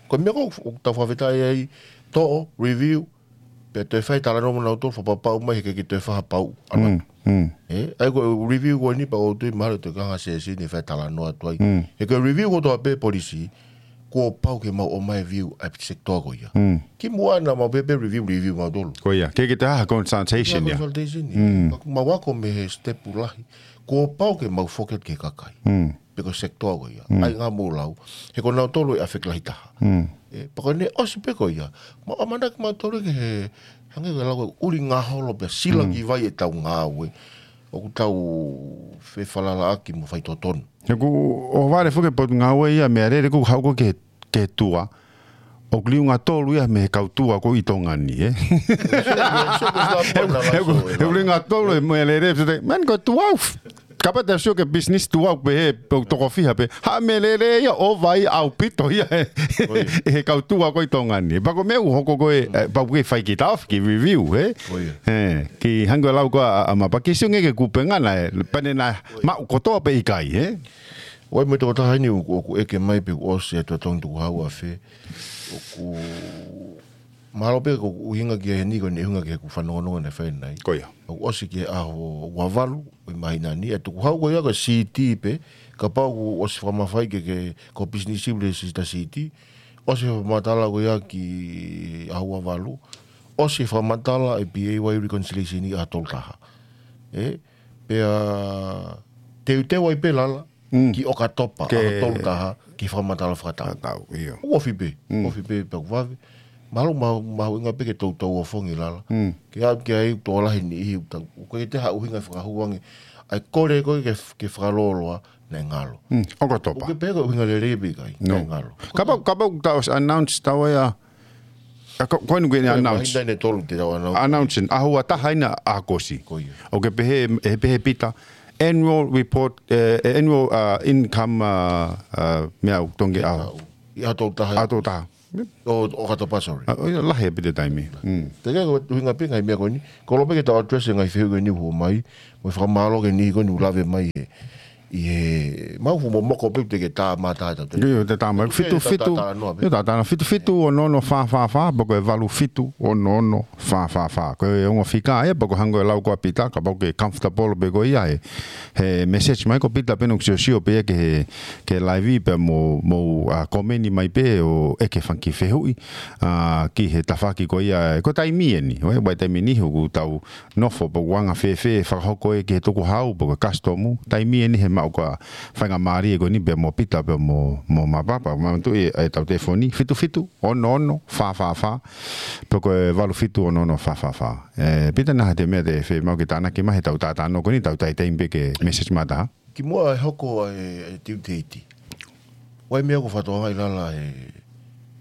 Ko e meʻa ko ē ʻoku tau fakafetaʻi ai, toʻo, review, pea toe fai talanoa mo nautolu, fakapapau mai he ʻikai ke toe fai ha pau. Mm, mm. Ē, ʻa ia ko e review ko eni pea ʻoku ou tui mahalo te kanga session ʻe fai talanoa atu ai. Mm. He ko e review kotoa pē policy, kuo pau ke mau ʻomai e view ʻa e sector ko ia. Mm. Kimuʻa naʻa mau pehē pē review, review mautolu. Ko ia, ʻikai ke toe ʻi ai ha consultation ʻIkai ia. consultation ia. Mm. Ka ʻoku mau ako mei he step lahi, kuo pau ke mau foki atu ki he kakai. Mm. Pe ko e sector ko ia. Mm. ʻA ia naʻa mou lau, he ko nautolu ʻe affect lahi taha. Mm. Ē, pea ko eni ʻosi pē ko ia. Mau ʻamanaki mautolu ki he, hangē ko e lau ko e ʻuli ngaholo pea sila Mm. ki vai ʻetau ngāue. ʻOku tau fefalalaʻaki mo faitotonu. He ʻoku ʻohovale foki e Potungāue ia meʻalele ʻoku haʻu ko ē ki he, ki he tua. ʻOku liunga tolu ia mei he kau tua ko ē ʻi Tonga ni, ē? Sio, sio, sio, sio, He ʻoku, he ʻoku, he ʻoku liunga tolu e meʻalele, pea te, man ko e tua ʻoku, kapau te sio ki he business tua ʻoku pehē, pe ʻoku toko fiha pē. Ha meʻalele ia ʻo vai ʻaupito ia, ē. Ko ia. ʻI he kau tua ko ē ʻi Tonga ni. Pea ko e meʻa ʻoku hoko ko ē, ē, pea ʻoku ke fai ki taofi, ki review, ē? Ko ia. Ē, ki hangē ko e lau ko ē ʻa, ʻa Mapa ke sio ange ki he kupenga na, ē. Pea ne na maʻu kotoa pē ʻikai, ē? ʻOku ʻi ai mo e tokotaha eni ʻoku, ʻoku ʻeke mai pe kuo ʻosi e totongi tukuhau ʻa fē. ʻOku mahalo pē ko e ʻuhinga ki heni ko eni ʻuhinga ki heʻeku fanongonongo naʻe fai ʻanenai. Ko ia. ʻOku ʻosi ki he ʻaho ua valu ʻo e māhina ni. E tukuhau ko ia ko e C T pē, kapau kuo ʻosi fakamafai ke, ke ko e business ʻi he sita C T. ʻOsi fakamatala ko ia ki he ʻaho ua valu. ʻOsi fakamatala e P A Y reconciliation ʻi he ʻaho tolu taha. Ē, pea teuteu ai pē Lala, Mm. ki ʻOkatopa, Ke ʻaho tolu taha, ki he fakamatala fakataʻu. Fakataʻu, ʻio. ʻOku ofi pē, Mm. ofi pē pea ʻoku vave. Mahalo, mahalo, mahuʻinga pē ke toutou ofongi Lala. Mm. Ke aʻu ki ai ʻoku tokolahi e niʻihi ʻoku tau, ʻoku ʻikai ke toe ʻi ai ha ʻuhinga fakahū ange. ʻA e kole ko ē ke, ke fakalōloa, naʻe ngalo. Mm. ʻOkatopa. ʻOku ke pehē ko e ʻuhinga lelei pe ʻikai, No. naʻe ngalo. Kapau, kapau ʻoku tau ʻosi announce tau ia, ʻa ko, ko eni ʻoku ke Ko e announce. māhina ʻe tolu te tau announce. Announce, ʻaho ua taha ʻi ʻAokosi. Ko ia. ʻOku ke pehē, ʻe pehē Pita, Annual report, eh, eh, annual, uh, income, uh, uh, meʻa ʻoku tongi au. ʻI ʻaho tolu taha. ʻAho tolu taha. ʻO, ʻo katoa pē, sorry. Ah, ʻo ia, lahi ʻaupito taimi. Mm. Te ke ko ʻuhinga pē ngaahi meʻa ko eni. Ko e loto pē ke tau address e ngaahi fehuʻi ko eni ʻoku hū mai. Mo e fakamālō ki he niʻihi ko eni ʻoku lave mai he, ʻi he, mau fuʻu momoko pē te ke tā mata atu. ʻIo, te tā mai. Fitu, fitu. Te tā tā noa pē. ʻIo, tā tā noa. Fitu fitu ono ono fā fā fā, pe ko e valu fitu ono ono fā fā fā. Ko e ongo fika ia, pe ko e hangē ko e lau ko ē ʻa Pita, kapau ʻoku ke comfortable pē ko ia he, he message mai ko Pita pē ʻoku siosio pē ia ki he, ki he live pea mo, mo, uh, komeni mai pē ʻo ʻeke fanga kiʻi fehuʻi, uh, ki he tafaʻaki ko ia, ko e taimi eni, ʻo e, ʻa e taimi ni ʻoku tau nofo pe ʻoku anga fēfē e fakahoko ē ki he tukuhau pe ko e custom, taimi eni he maʻu ko ā faingamālie ko eni pea mo Pita pea mo, mo Mapapa, ma tu e, e tau telefoni, fitu fitu, ono ono, fā fā fā, pe ko e valu fitu ono ono fā fā fā. E, Pita, naʻa te meʻa te fiemaʻu ke tānaki mai he tau tātā noa ko eni, tau taimi pē ke message mata. Kimuʻa e hoko e, e due date. ʻOku ʻi ai e meʻa ʻoku fakatokangaʻi lala he,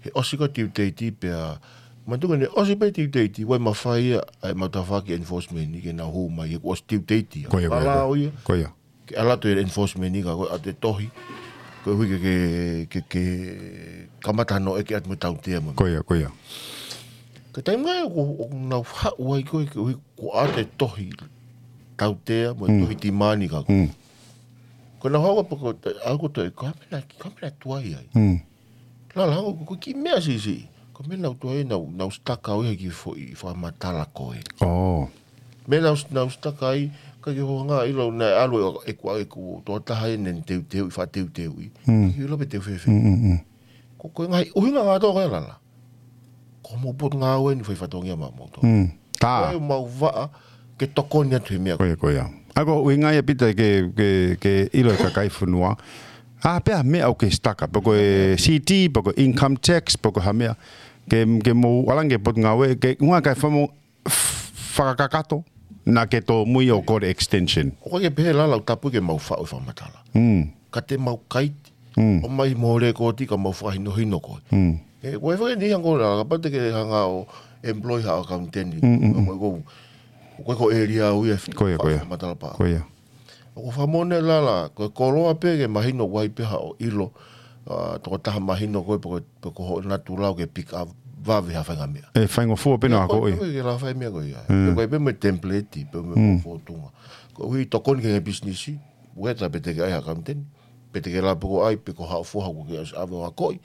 he ʻosi ko ē due date pea, manatuʻi ko eni ʻosi pē due date, ʻoku ʻi ai e mafai ia ʻa e maʻu tafaʻaki enforcement ni ke nau hū mai he kuo ʻosi due date ia. Ko ia, ko ia, ko ia. Palao ia. Ko ia. Ke ʻalu atu e enforcement ni ka ko e ʻoatu e tohi. Koeʻuhi ke, ke, ke, ke kamata hano ʻeke atu mo e tautea mo. Ko ia, ko ia. Ko e taimi ko ē ʻoku, ʻoku nau haʻu ai ko ē koeʻuhi kuo ʻoatu e tohi tautea mo e tohi timani ka ko. Mm. Ko ʻenau haʻu pē ko e, ʻa ko e toe, ko e hā e meʻa, ko e hā e meʻa ʻoku tuai ai. Mm. Lala, ko e kiʻi meʻa siʻisiʻi. Ko e meʻa naʻa nau tuai ai, nau, nau stuck ai he kiʻi foʻi fakamatala ko ē. Oh. Meʻa naʻa nau, nau stuck ai, ka ke hoʻo hanga ʻo ʻilo naʻe ʻalu e, e kuo, e kuo tokotaha ʻene teuteuʻi, fakateuteuʻi. Mm. Ke ʻilo pe te u fēfē. Mm, mm, mm. Ko, ko e ngaahi ʻuhinga kātoa ko ē lala. Ko hoʻomou potungāue eni fai fatongia maʻamoutolu. Mm. Tā. Ko e mau vaʻa ke tokoni atu he meʻa. Ko ia, ko ia. ʻA ia ko e ʻuhinga ia Pita ke, ke, ke ʻilo e kakai fonua. ʻA, pea meʻa ʻoku ke stuck, pe ko e C T, pe ko e income tax, pe ko e hā e meʻa. Ke, ke mou ʻalu ange ki he potungāue, ke ʻuhinga kae famo-, f-, fakakakato, naʻa ke tōmui ʻo kole extension. ʻOku ʻikai ke pehē lala ʻoku tapu ke mau faʻu e fakamatala. Mm. Ka te mau kaiti, Mm. ʻomai mo e lēkooti ka mau fakahinohino koe. Mm. E, ko e fakaʻinasi ange ko ē lala, kapau te ke hanga ʻo employ ha accountant. Mm, mm, mm. Ko e, ko e, ko e ʻēlia au ia. Ko ia, ko ia. Fakamatala pē. Ko ia. ʻOku fakamoʻoni lala, ko e koloa pē ke mahino ʻoku ʻi ai pē haʻo ʻilo, ʻa, tokotaha mahino ko ē pe ko, pe ko hoʻo natula ʻoku ke pick up vave ha faʻahinga meʻa. ʻE faingofua pē ʻa ko ia. Ko e, ko e ke lava fai e meʻa ko ia. Mm. Pe ko e pē mo e template, pe mo e Mm. fōtunga. Koeʻuhi tokoni ki he ngaahi pisinisi, whether pe te ke ʻai ha accountant, pe te ke lava pē ko ʻai, pe ko haʻo foha ʻoku ke ʻosi ʻave ʻo akoʻi.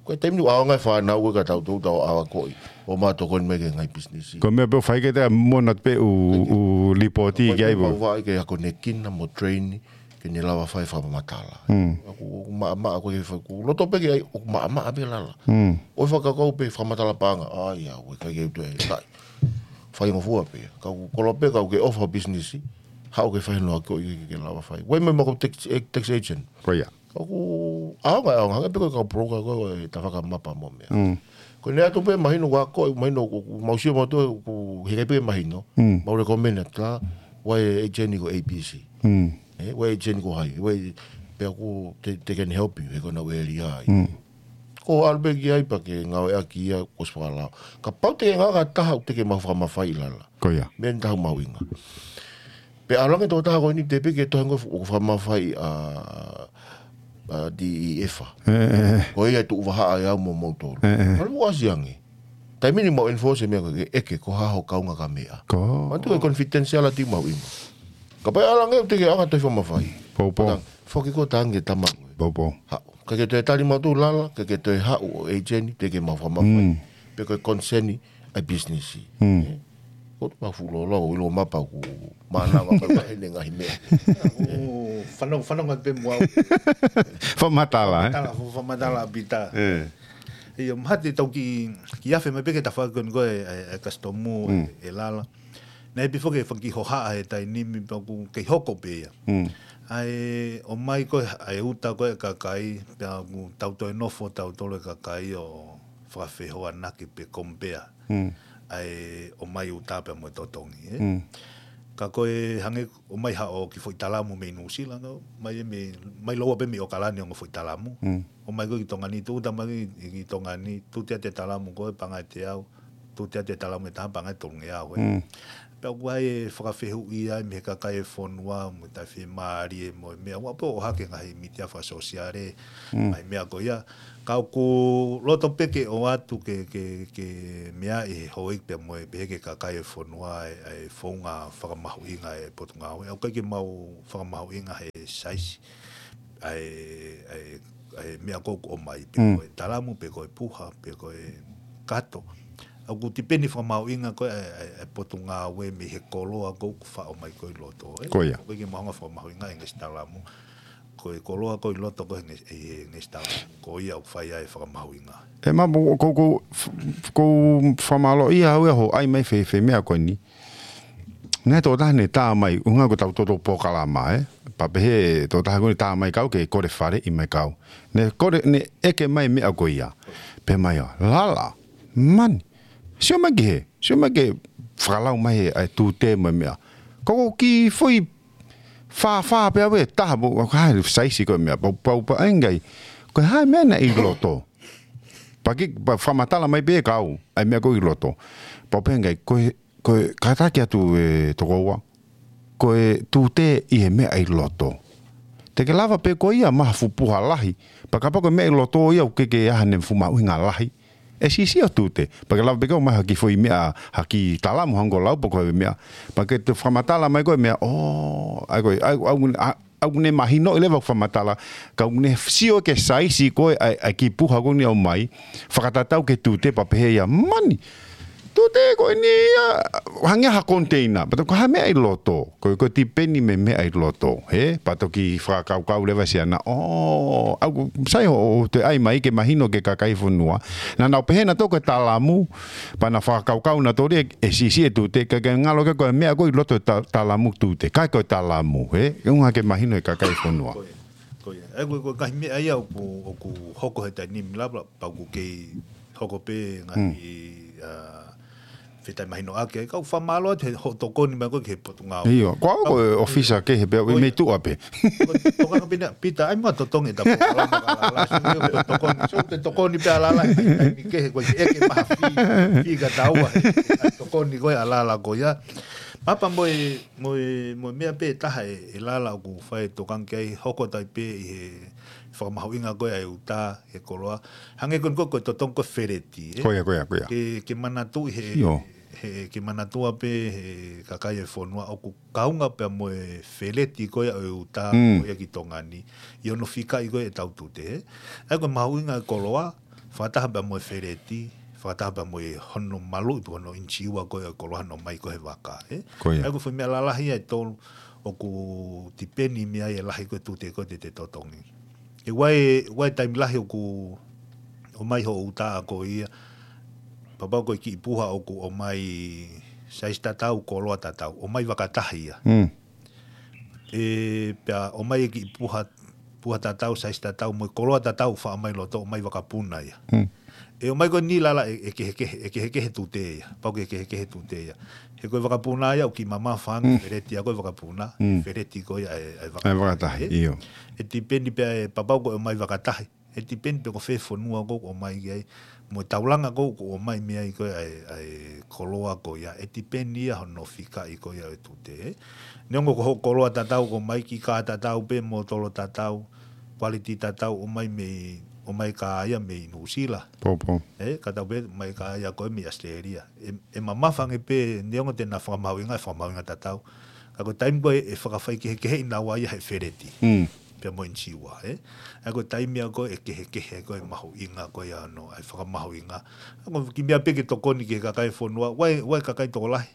Ko e taimi ni ʻoku ʻaonga e fānau ko ē ka tau tau tau ʻave ʻo akoʻi. ʻO ma tokoni mai ki he ngaahi pisinisi. Ko e meʻa pē ʻoku fai ke te mona pē ʻū, ʻū lipooti ki ai. Ko e pau ʻoku fai ke akonekina mo train ke ne lava fai fakamatala. Mm. ʻOku, ʻoku maʻamaʻa ko e fai, ʻoku loto pē ke ʻai, ʻoku maʻamaʻa pē lala. Mm. ʻOi fakakaukau pē fakamatala paʻanga. ʻAi, ʻa, ʻoku ʻikai ke u toe tai. Faingofua pē. Ka ʻoku koloa pē ka ʻoku ke ʻofa pisinisi. Haʻu ke fai noa ko ē ke, ke lava fai. ʻOi mai mo e kau tax, e, tax agent. Ko ia. ʻOku ʻaonga, ʻaonga, hangē pē ko e kau broker ko ē, tafaʻaki mapa mo e meʻa. Mm. Ko ʻene ʻoatu pē mahino ʻoku akoʻi, mahino ʻoku, ʻoku mau sio mautolu ʻoku heʻikai pē mahino. Mm. Mau recommend atu lā, ʻoku ʻi ai e agent ko ē A B C. Mm. ʻE, ʻoku ʻi ai e agent ko hai, ʻoku ʻi ai, pea ʻoku te, they can help you, he ko ʻenau ʻēlia ia. Mm. Ko e ʻalu pē ki ai pea ke ngāueʻaki ia ko e fakalao. Kapau te ke ngāueʻaki ha taha ʻoku te ke maʻu fakamafaiʻi lala. Ko ia. Meʻa eni taha mahuʻinga. Pea ʻalu ange tokotaha ko eni te pehē ke tohi ange ʻoku fakamafaiʻi ʻa, ʻa D E F. ʻE, ʻe, ʻe. Ko ia ʻe tuʻu vahaʻa ʻe au mo moutolu. ʻE, ʻe. Kae mou ʻasi ange. Taimi ni mau enforce e meʻa ko ē ke ʻeke ko hai hoʻo kaungā kameʻa. Ko. Manatuʻi ko e confidentiality mahuʻinga. Kapau ʻe ʻalu ange ʻoku te ke ʻaonga tohi fakamafai. Poupou. Pea foki ko e tangi tama. Poupou. Haʻu. Ka ke toe tali mautolu lala, ka ke toe haʻu ʻo agent te ke maʻu fakamafai. Mm. Pe ko e consent ʻa e pisinisi. Mm. ʻE? Ko e mau fuʻu lōloa, ʻo ʻilo mapa ʻoku mānava ka ʻi ai e ngaahi meʻa. ʻOku fanongo, fanongo pē mo au. Fakamatala, ē? Fakamatala, fakamatala ʻa Pita. ʻE. ʻIo, mahalo te tau kiʻi, kiʻi afe mai pē ki he tafaʻaki ko eni ko e, e, e custom, Mm. e, e lala. Naʻe pehē foki e fanga kiʻi hohaʻa he taimi ni pea ʻoku kei hoko pē ia. Mm. ʻA e ʻomai ko ē ʻa e uta ko ē ʻa e kakai, pea ʻoku tau toe nofo tautolu e kakai ʻo fakafehoanaki pe compare. Mm. ʻA e ʻomai uta pea mo e totongi, ē? Mm. Ka ko e hangē ʻomai haʻo kiʻi foʻi talamu mei Nuʻusila, ʻomai mei, ʻomai lōua pē mei ʻAokalani ʻo e foʻi talamu. Mm. ʻOmai ko ē ki Tonga ni, tuʻu atu mai ki Tonga ni, tuʻu atu e talamu ko ē paʻanga ʻe teau, tuʻu atu e talamu ʻe taha paʻanga ʻe tolungeau, ē. Mm. Pea ʻoku ʻi ai e fakafehuʻi ai mei he kakai e fonua, mo e taʻefiemālie mo e meʻa, ʻoku ʻohake ngaahi mītia fakasōsiale, ngaahi meʻa ko ia. Ka ʻoku loto pē ke ʻoatu ke, ke, ke meaʻi he houʻeiki pea mo e pehē ki he kakai e fonua e, e founga fakamahuʻinga e Potungāue. ʻOku ʻikai ke mau fakamahuʻinga he saisi ʻa e, ʻa e, ʻa e meʻa ko ē ʻoku ʻomai, pe ko e talamu, pe ko e puha, pe ko e kato. ʻOku tipeni fakamahuʻinga ko ē ʻa e, ʻa e, ʻa e Potungāue mei he koloa ko ē ʻoku faʻo mai ko ē ʻi loto, ē? Ko ia. ʻOku ʻikai ke mau hanga fakamahuʻinga e ngaahi talamu. Ko e koloa ko ē ʻi loto ko ē he ngaahi, e, e ngaahi talamu. Ko ia ʻoku fai ai e fakamahuʻinga. ʻE, ma, ko, ko, ko, ko fakamālō ia au ia hoʻo ʻai mai fē, fē meʻa ko eni. Naʻe tokotaha ne tā mai, ʻuhinga ko ʻetau toto polokalama, ē? Pea pehē tokotaha ko eni tā mai kau ke kole faleʻi mai kau. Ne kole, ne ʻeke mai meʻa ko ia. Pehē mai ʻo, Lala, mani. Sio mai ki hē, sio mai ki he fakalau mai he, ʻa e tute mo e meʻa. Ko ʻeku kiʻi foʻi fāfā pē au ʻe taha, pau, pau, ha saisi ko e meʻa, pau, pau, pau, ʻai ngai. Ko e hā e meʻa naʻe ʻi loto. Pea ke, pea fakamatala mai pē kau, ʻa e meʻa ko ē ʻi loto. Pau pē ngai, ko e, ko e kātaki atu e tokoua, ko e tute ʻi he meʻa ʻi loto. Te ke lava pē ko ia ʻomai ha fuʻu puha lahi. Pea kapau ko e meʻa ʻi loto ia ʻoku ʻikai ke ʻi ai haʻane fuʻu mahuʻinga lahi, ʻe siʻisiʻi ʻa e tute. Pea ke lava pē ke ʻomai ha kiʻi foʻi meʻa, ha kiʻi talamu hangē ko e lau pe ko e meʻa. Pea ke toe fakamatala mai ko e meʻa, ʻō, ʻai ko ē, ʻai, ʻai, ʻai, ʻoku ne mahinoʻi leva ʻeku fakamatala, ka ʻoku ne sio ki he saisi ko ē ʻa e, ʻa e kiʻi puha ko eni ʻomai, fakatatau ki he tute pea pehē ia, mani, tute ko eni ia, hangē ha container, pea toki ko e hā e meʻa ʻi loto, ko, ko e tipeni mei he meʻa ʻi loto, hē? Pea toki fakakaukau leva siʻana, ʻō, ʻoku sai hoʻo toe ʻai mai ke mahino ki he kakai e fonua. Naʻa nau pehē naʻa tau ko e talamu, pea na fakakaukau naʻa tau ʻe, ʻe siʻisiʻi e tute, ka ke ngalo ke ko e meʻa ko ē ʻi loto ta-, talamu tute, ʻikai ko e talamu, hē? ʻUhinga ke mahino ki he kakai e fonua. Ko ia, ko ia. ʻE, ko e, ko e ngaahi meʻa ia ʻoku, ʻoku hoko he taimi ni, lava, pea ʻoku kei hoko pē ngaahi, ʻa, fetai mahino ake, ka ʻoku fakamālō atu he hoʻo tokoni mai ko ē ki he Potungāue. ʻIo, ko au ko e ʻōfisa kehe pē, ʻi mei tuʻa pē. Ko e tokanga pē ena, Pita, ʻai mo totongi e tapu, Lala, Lala, sio ko e tokoni, sio ko e tokoni pē ʻa Lala, ʻai, ʻai mi kehe, ko e ʻeke maha fī, fika taua, ʻai tokoni ko ē ʻa Lala ko ia. Papa mo e, mo e, mo e meʻa pē ʻe taha ē, ē Lala ʻoku fai e tokanga ki ai, hoko atu ai pē ʻi he fakamahuʻinga ko ē ʻa e uta, he koloa. Hangē ko eni ko e, ko e totongi ko ē feleti, ē? Ko ia, ko ia, ko ia. Ke, ke manatuʻi he, ʻio, he, ke manatua pē he kakai e fonua ʻoku kaunga pea mo e feleti ko ia ʻo e uta, ko ia ki Tonga ni, ʻi hono fikaʻi ko ē ʻetau tute, ē? ʻA ia ko e mahuʻinga e koloa, fakataha pea mo e feleti, fakataha pea mo e hono maluʻi pe ko hono initsiua ko ē ʻo e koloa ʻoku ʻomai ko ē he vaka, ē? Ko ia. ʻA ia ko e foʻi meʻa lalahi ia ʻe tolu, ʻoku tipeni mei ai e lahi ko ē tute ko ē te te totongi. ʻE ʻi ai, ʻi ai e taimi lahi ʻoku ʻomai hoʻo uta ko ia, pea pau ko e kiʻi puha ʻoku ʻomai saisi tatau, koloa tatau, ʻomai vakatahi ia. ʻE, pea ʻomai e kiʻi puha, puha tatau, saisi tatau, mo e koloa tatau, faʻo mai loto, ʻomai vakapuna ia. ʻE ʻomai ko eni Lala ʻe, ʻe kehekehe, ʻe kehekehe tute ia. Pau ke kehekehe tute ia. He ko e vakapuna ia, ʻoku kiʻi mamafa ange, feleti ia ko e vakapuna. Feleti ko ia ʻa e, ʻa e vaka-, ʻa e vakatahi, ʻio. ʻE tipeni pea ʻe pea pau ko e ʻomai vakatahi. ʻE tipeni pe ko fē fonua ko ē ʻoku ʻomai ki ai. Mo e taulanga ko ē ʻoku ʻomai mei ai ko ē ʻa e, ʻa e koloa ko ia. ʻE tipeni ia hono fikaʻi ko ia ʻo e tute, ē. Neongo ko hoʻo koloa tatau ʻoku ʻomai, kiʻi kā tatau pē, mōtolo tatau, quality tatau, ʻomai mei, ʻomai kā ia mei Nuʻusila. Pau, pau. Ē, kā tatau pē, ʻomai kā ia ko ē mei ʻAositelēlia. ʻE, ʻe mamafa ange pē, neongo te na fakamahuʻinga, ʻe fakamahuʻinga tatau. Ka ko e taimi ko ē ʻe fakafaikehekeheʻi naua ia he feleti. Pea mo e initsiua, ē? ʻA ia ko e taimi ia ko ē ʻe kehekehe ko ē mahuʻinga ko ia ʻo e, ʻa e fakamahuʻinga. ʻA ia ko e kiʻi meʻa pē ke tokoni ki he kakai e fonua, ʻi ai, ʻi ai e kakai tokolahi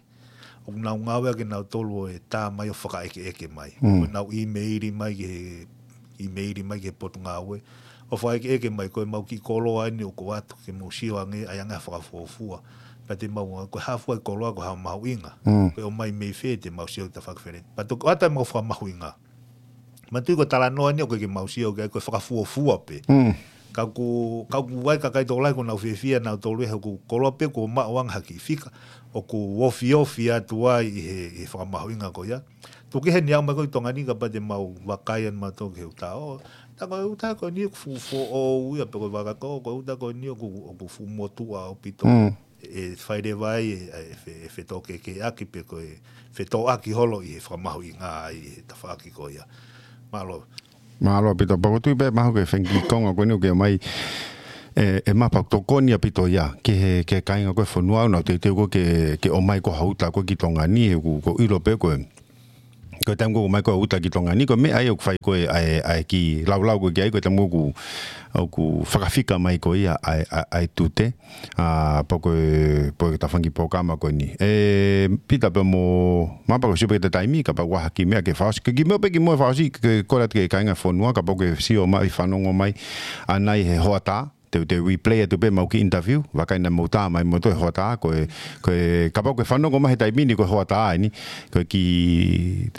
ʻoku nau ngāueʻaki ʻe nautolu ʻa e tā mai ʻo fakaʻekeʻeke mai. ʻO nau ʻīmeili mai ki he, ʻīmeili mai ki he Potungāue. ʻO fakaʻekeʻeke mai ko ʻemau kiʻi koloa eni ʻoku ʻoatu ke mou sio ange, ʻai ange ha fakafuofua. Pea te mau, ko e hā fua e koloa, ko e hā e mahuʻinga. Ko e ʻomai mei fē, te mau sio ki he tafaʻaki feleti. Pea toki ʻoatu ʻemau fakamahuʻinga. Manatuʻi ko e talanoa eni ʻoku ʻikai ke mau sio ki ai, ko e fakafuofua pē. Ka ʻoku, ka ʻoku ʻi ai e kakai tokolahi ʻoku nau fiefia nautolu he ʻoku koloa pē kuo maʻu ange ha kiʻi fika, ʻoku ofiofi atu ai ʻi he, ʻi he fakamahuʻinga ko ia. Tuku kehe eni ʻomai ko ē ki Tonga ni kapau te mau vakai ʻa mautolu ki he uta. ʻO, tā ko e uta ko eni ʻoku fuʻu foʻou ia pe ko e vaka ko, ko e uta ko eni ʻoku, ʻoku fuʻu motuʻa ʻaupito. ʻe fai leva ai e, e fe-, e fetōkekeʻaki pe ko e fetōʻaki holo ʻi he fakamahuʻinga ai ʻi he tafaʻaki ko ia. Mālō. Mālō Pita, pea ʻoku ou tui pē mahalo ko e fengi konga ko eni ʻoku ke ʻomai e, e mapa ʻoku tokoni ʻaupito ia ki he, ki he kāinga ko ē e fonua, ʻoku nau teuteu ko ē ke, ke ʻomai ko ē ha uta ko ē ki Tonga ni, he ʻoku, ʻoku ou ʻilo pē ko e ko e taimi ko ē ʻoku ʻomai ko ē e uta ki Tonga ni, ko e meʻa ia ʻoku fai ko ē ʻa e, ʻa e kiʻi laulau ko ē ki ai, ko e taimi ko ē ʻoku, ʻoku fakafika mai ko ia ʻa e, ʻa e, ʻa e tute. ʻA, pea ko e, pea ko e tafaʻaki polokalama ko eni. ʻE, Pita pea mo Mapa, ʻoku ou sio pē ki he taimi, kapau ʻoku ʻi ai ha kiʻi meʻa ke fakaʻosi. Ke kiʻi meʻa pē kimuʻa fakaʻosi, ke kole atu ki he kāinga e fonua, kapau ʻoku ke sio mai ʻi fanongo mai ʻanai he hoʻatā, te, te replay atu pē ʻemau kiʻi interview, vakai naʻa mou tā mai moutolu he hoʻatā, ko e, ko e, kapau ʻoku ke fanongo mai he taimi ni ko e hoʻatā eni, ko e kiʻi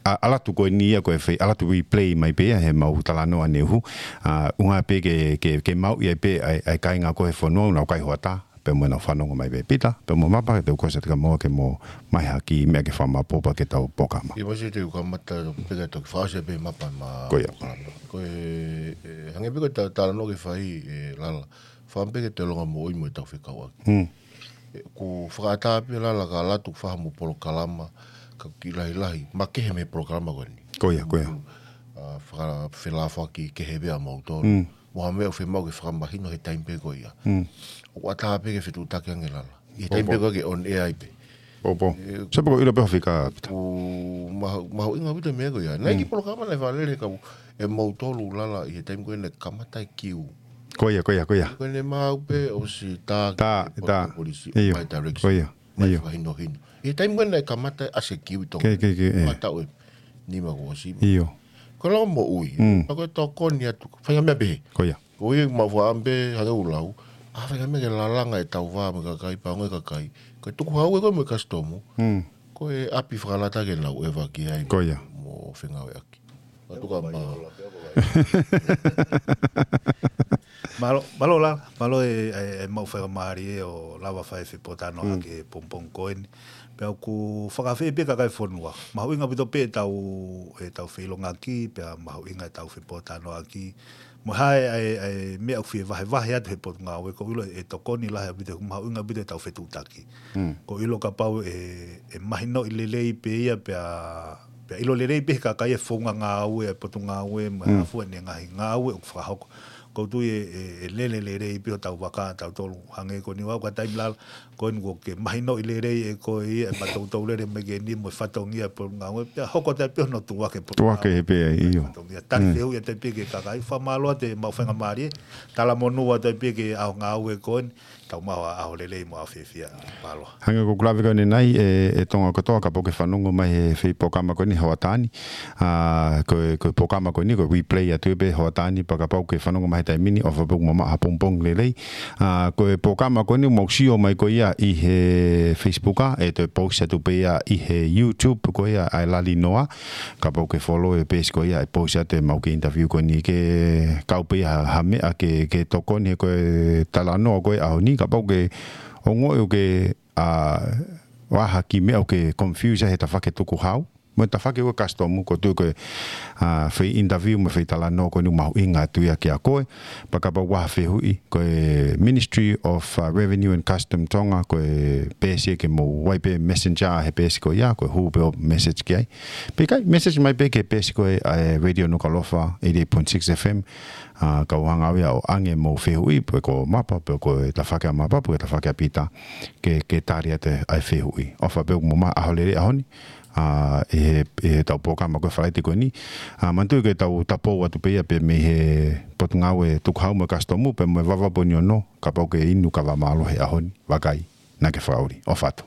ʻa-, ʻalu atu ko eni ia ko e fai, ʻalu atu replay mai pē ia heʻemau talanoa neʻe hū. ʻA, ʻuhinga pē ke, ke, ke maʻu ia pē ʻa e, ʻa e kāinga ko ē e fonua ʻoku nau kai hoʻatā, pea mo ʻenau fanongo mai pē. Pita, pea mo Mapa, te u kole atu kia moutolu ke mou ʻomai ha kiʻi meʻa ke fakamaʻopoʻopo ki heʻetau polokalama. ʻIo, mou sio te u kamata pē ke toki fakaʻosi pē Mapa ʻema Ko ia. polokalama. Ko e, e, hangē pē ko e ta-, talanoa ʻoku ke fai, ʻe Lala. Fakaʻamu pē ke te langa moʻui mo ʻetau fekauʻaki. Mm. ʻE, ʻoku fakaʻatā pē Lala ka ʻalu atu ʻo fai haʻamou polokalama, ka ʻoku kiʻi lahilahi, makehe mei he polokalama ko eni. Ko ia, ko ia. ʻA, faka-, felāfoaki kehe pē ʻa moutolu. Mm. Mo ha meʻa ʻoku fiemaʻu ke fakamahino he taimi pē ko ia. Mm. ʻOku ʻatā pē ke fetuʻutaki ange Lala. ʻI he taimi Opo. pē ko ia ʻoku ke on air ai pē. Opo. ʻE, Sio pē ʻoku ou ʻilo pē ho fika, Pita. ʻoku mahu-, mahuʻinga ʻaupito e meʻa ko ia. Naʻe ʻi ai e kiʻi Mm. polokalama naʻe fakalele ka ʻe moutolu Lala ʻi he taimi ko ē naʻe kamata e kiu. Ko ia, ko ia, ko ia. Ko ʻene maʻu pē ʻosi tā ki Tā, he tā. polisi, ʻIo. ʻomai direction. Ko ia. ʻIo. Fakahinohino. ʻI he taimi ko ē naʻe kamata ʻa e kiu ʻi Tonga. Ke, ke, ke, ʻe. Mataʻu ʻe nima kuo ʻosi. ʻIo. Ko e langa moʻui. Mm. Pea ko e tokoni atu. Fai ha meʻa pehē. Ko ia. Ko ia ʻoku mau fakaʻamu pē hangē ʻoku lau. ʻA, fai ha meʻa ke lalanga ʻetau vā mo e kakai, pea ongoʻi e kakai. Ko e tukuhau ē ko ē mo e kasitomu. Mm. Ko e ʻapi fakalata ke nau ʻeva ki ai. Ko ia. Mo fengāueʻaki. Mātuʻa mā. Mālō, mālō Lala, mālō e, e, e maʻu faingamālie ʻo lava fai e fepōtalanoaʻaki Mm. he pongipongi ko eni. Pea ʻoku fakafeʻiloaki pē ki he kakai e fonua. Mahuʻinga ʻaupito pē ʻetau, ʻetau feʻiloaki, pea mahuʻinga ʻetau fepōtalanoaʻaki. Mo e hā e, e, e meʻa ʻoku fie vahevahe atu he Potungāue, ʻoku ou ʻilo ʻe tokoni lahi ʻaupito, mahuʻinga ʻaupito ʻetau fetuʻutaki. Mm. ʻOku ou ʻilo kapau ʻe, ʻe mahinoʻi lelei pē ia pea, pea ʻilo lelei pē he kakai e founga ngāue ʻa e Potungāue mo e Mm. hā fua ʻene ngaahi ngāue ʻoku fakahoko. ʻOku ou tui ʻe, ʻe, ʻe lele lelei pē hotau vaka ʻatautolu hangē ko eni ʻoku ʻi ai e taimi Lala, ko eni ʻoku ke mahinoʻi lelei ʻe koe ia, ʻe maʻu toutou lele mai ki heni mo e fatongia e Potungāue, pea hoko atu ai pē hono tuʻuaki e Potungāue. Tuʻuaki he pē ai, ʻio. Fatongia. Tali Mm. fehuʻi atu ai pē ki he kakai, fakamālō atu e maʻu faingamālie, talamonū atu ai pē ki he ʻaho ngāue ko eni, tau maʻu ha ʻaho lelei mo e ʻaho fiefia. Mālō. Hangē ko ʻeku lave ko eni ʻanenai, ʻe, ʻe Tonga kotoa kapau ʻoku ke fanongo mai he foʻi polokalama ko eni he hoʻatā ni. ʻA, ko e, ko e polokalama ko eni, ko e replay atu pē he hoʻatā ni, pea kapau ʻoku ke fanongo mai he taimi ni, ʻofa pē ʻoku mou maʻu ha pongipongi lelei. ʻA, ko e polokalama ko eni ʻoku mou sio mai ko ia ʻi he Facebook, ʻa, ʻe toe post atu pē ia ʻi he YouTube ko ia ʻa e Lali Noa. Kapau ʻoku ke follow e peesi ko ia ʻe post atu ʻemau kiʻi interview ko eni, ke kau pē ia ha, ha meʻa ke, ke tokoni he ko e talanoa ko ē ʻaho ni, kapau ʻoku ke ongoʻi ʻoku ke, ʻa, ʻi ai ha kiʻi meʻa ʻoku ke confuse ai he tafaʻaki tukuhau mo e tafaʻaki ʻo e kasitomu, ʻoku ou tui ko e, ʻa, foʻi interview mo e foʻi talanoa ko eni ʻoku mahuʻinga atu ia kiate koe. Pea kapau ʻoku ʻi ai ha fehuʻi, ko e Ministry of, ʻa, Revenue and Custom Tonga, ko e peesi ke mou ʻai pē messenger he peesi ko ia, ko e hū pē hoʻo message ki ai. Pe ʻikai, message mai pē ki he peesi ko ē ʻa e Radio Nukuʻalofa, eighty-eight point six F M, ʻa, kau hanga au ia ʻo ʻoange hoʻomou fehuʻi, pe ko Mapa, pe ko e tafaʻaki ʻa Mapa, pe ko e tafaʻaki ʻa Pita, ke, ke tali atu ʻa e fehuʻi. ʻOfa pē ʻoku mou maʻu ha ʻaho lelei he ʻaho ni, ʻa, ʻi he, ʻi heʻetau polokalama ko ē Falaite ko eni. ʻA, manatuʻi ke tau tapou atu pē ia pē mei he Potungāue Tukuhau mo e Kasitomu, pea mo e Vavaʻu pē ʻe ono, kapau ʻoku ke inu kava mālohi he ʻaho ni, vakai, naʻa ke fakaʻuli. ʻOfa atu.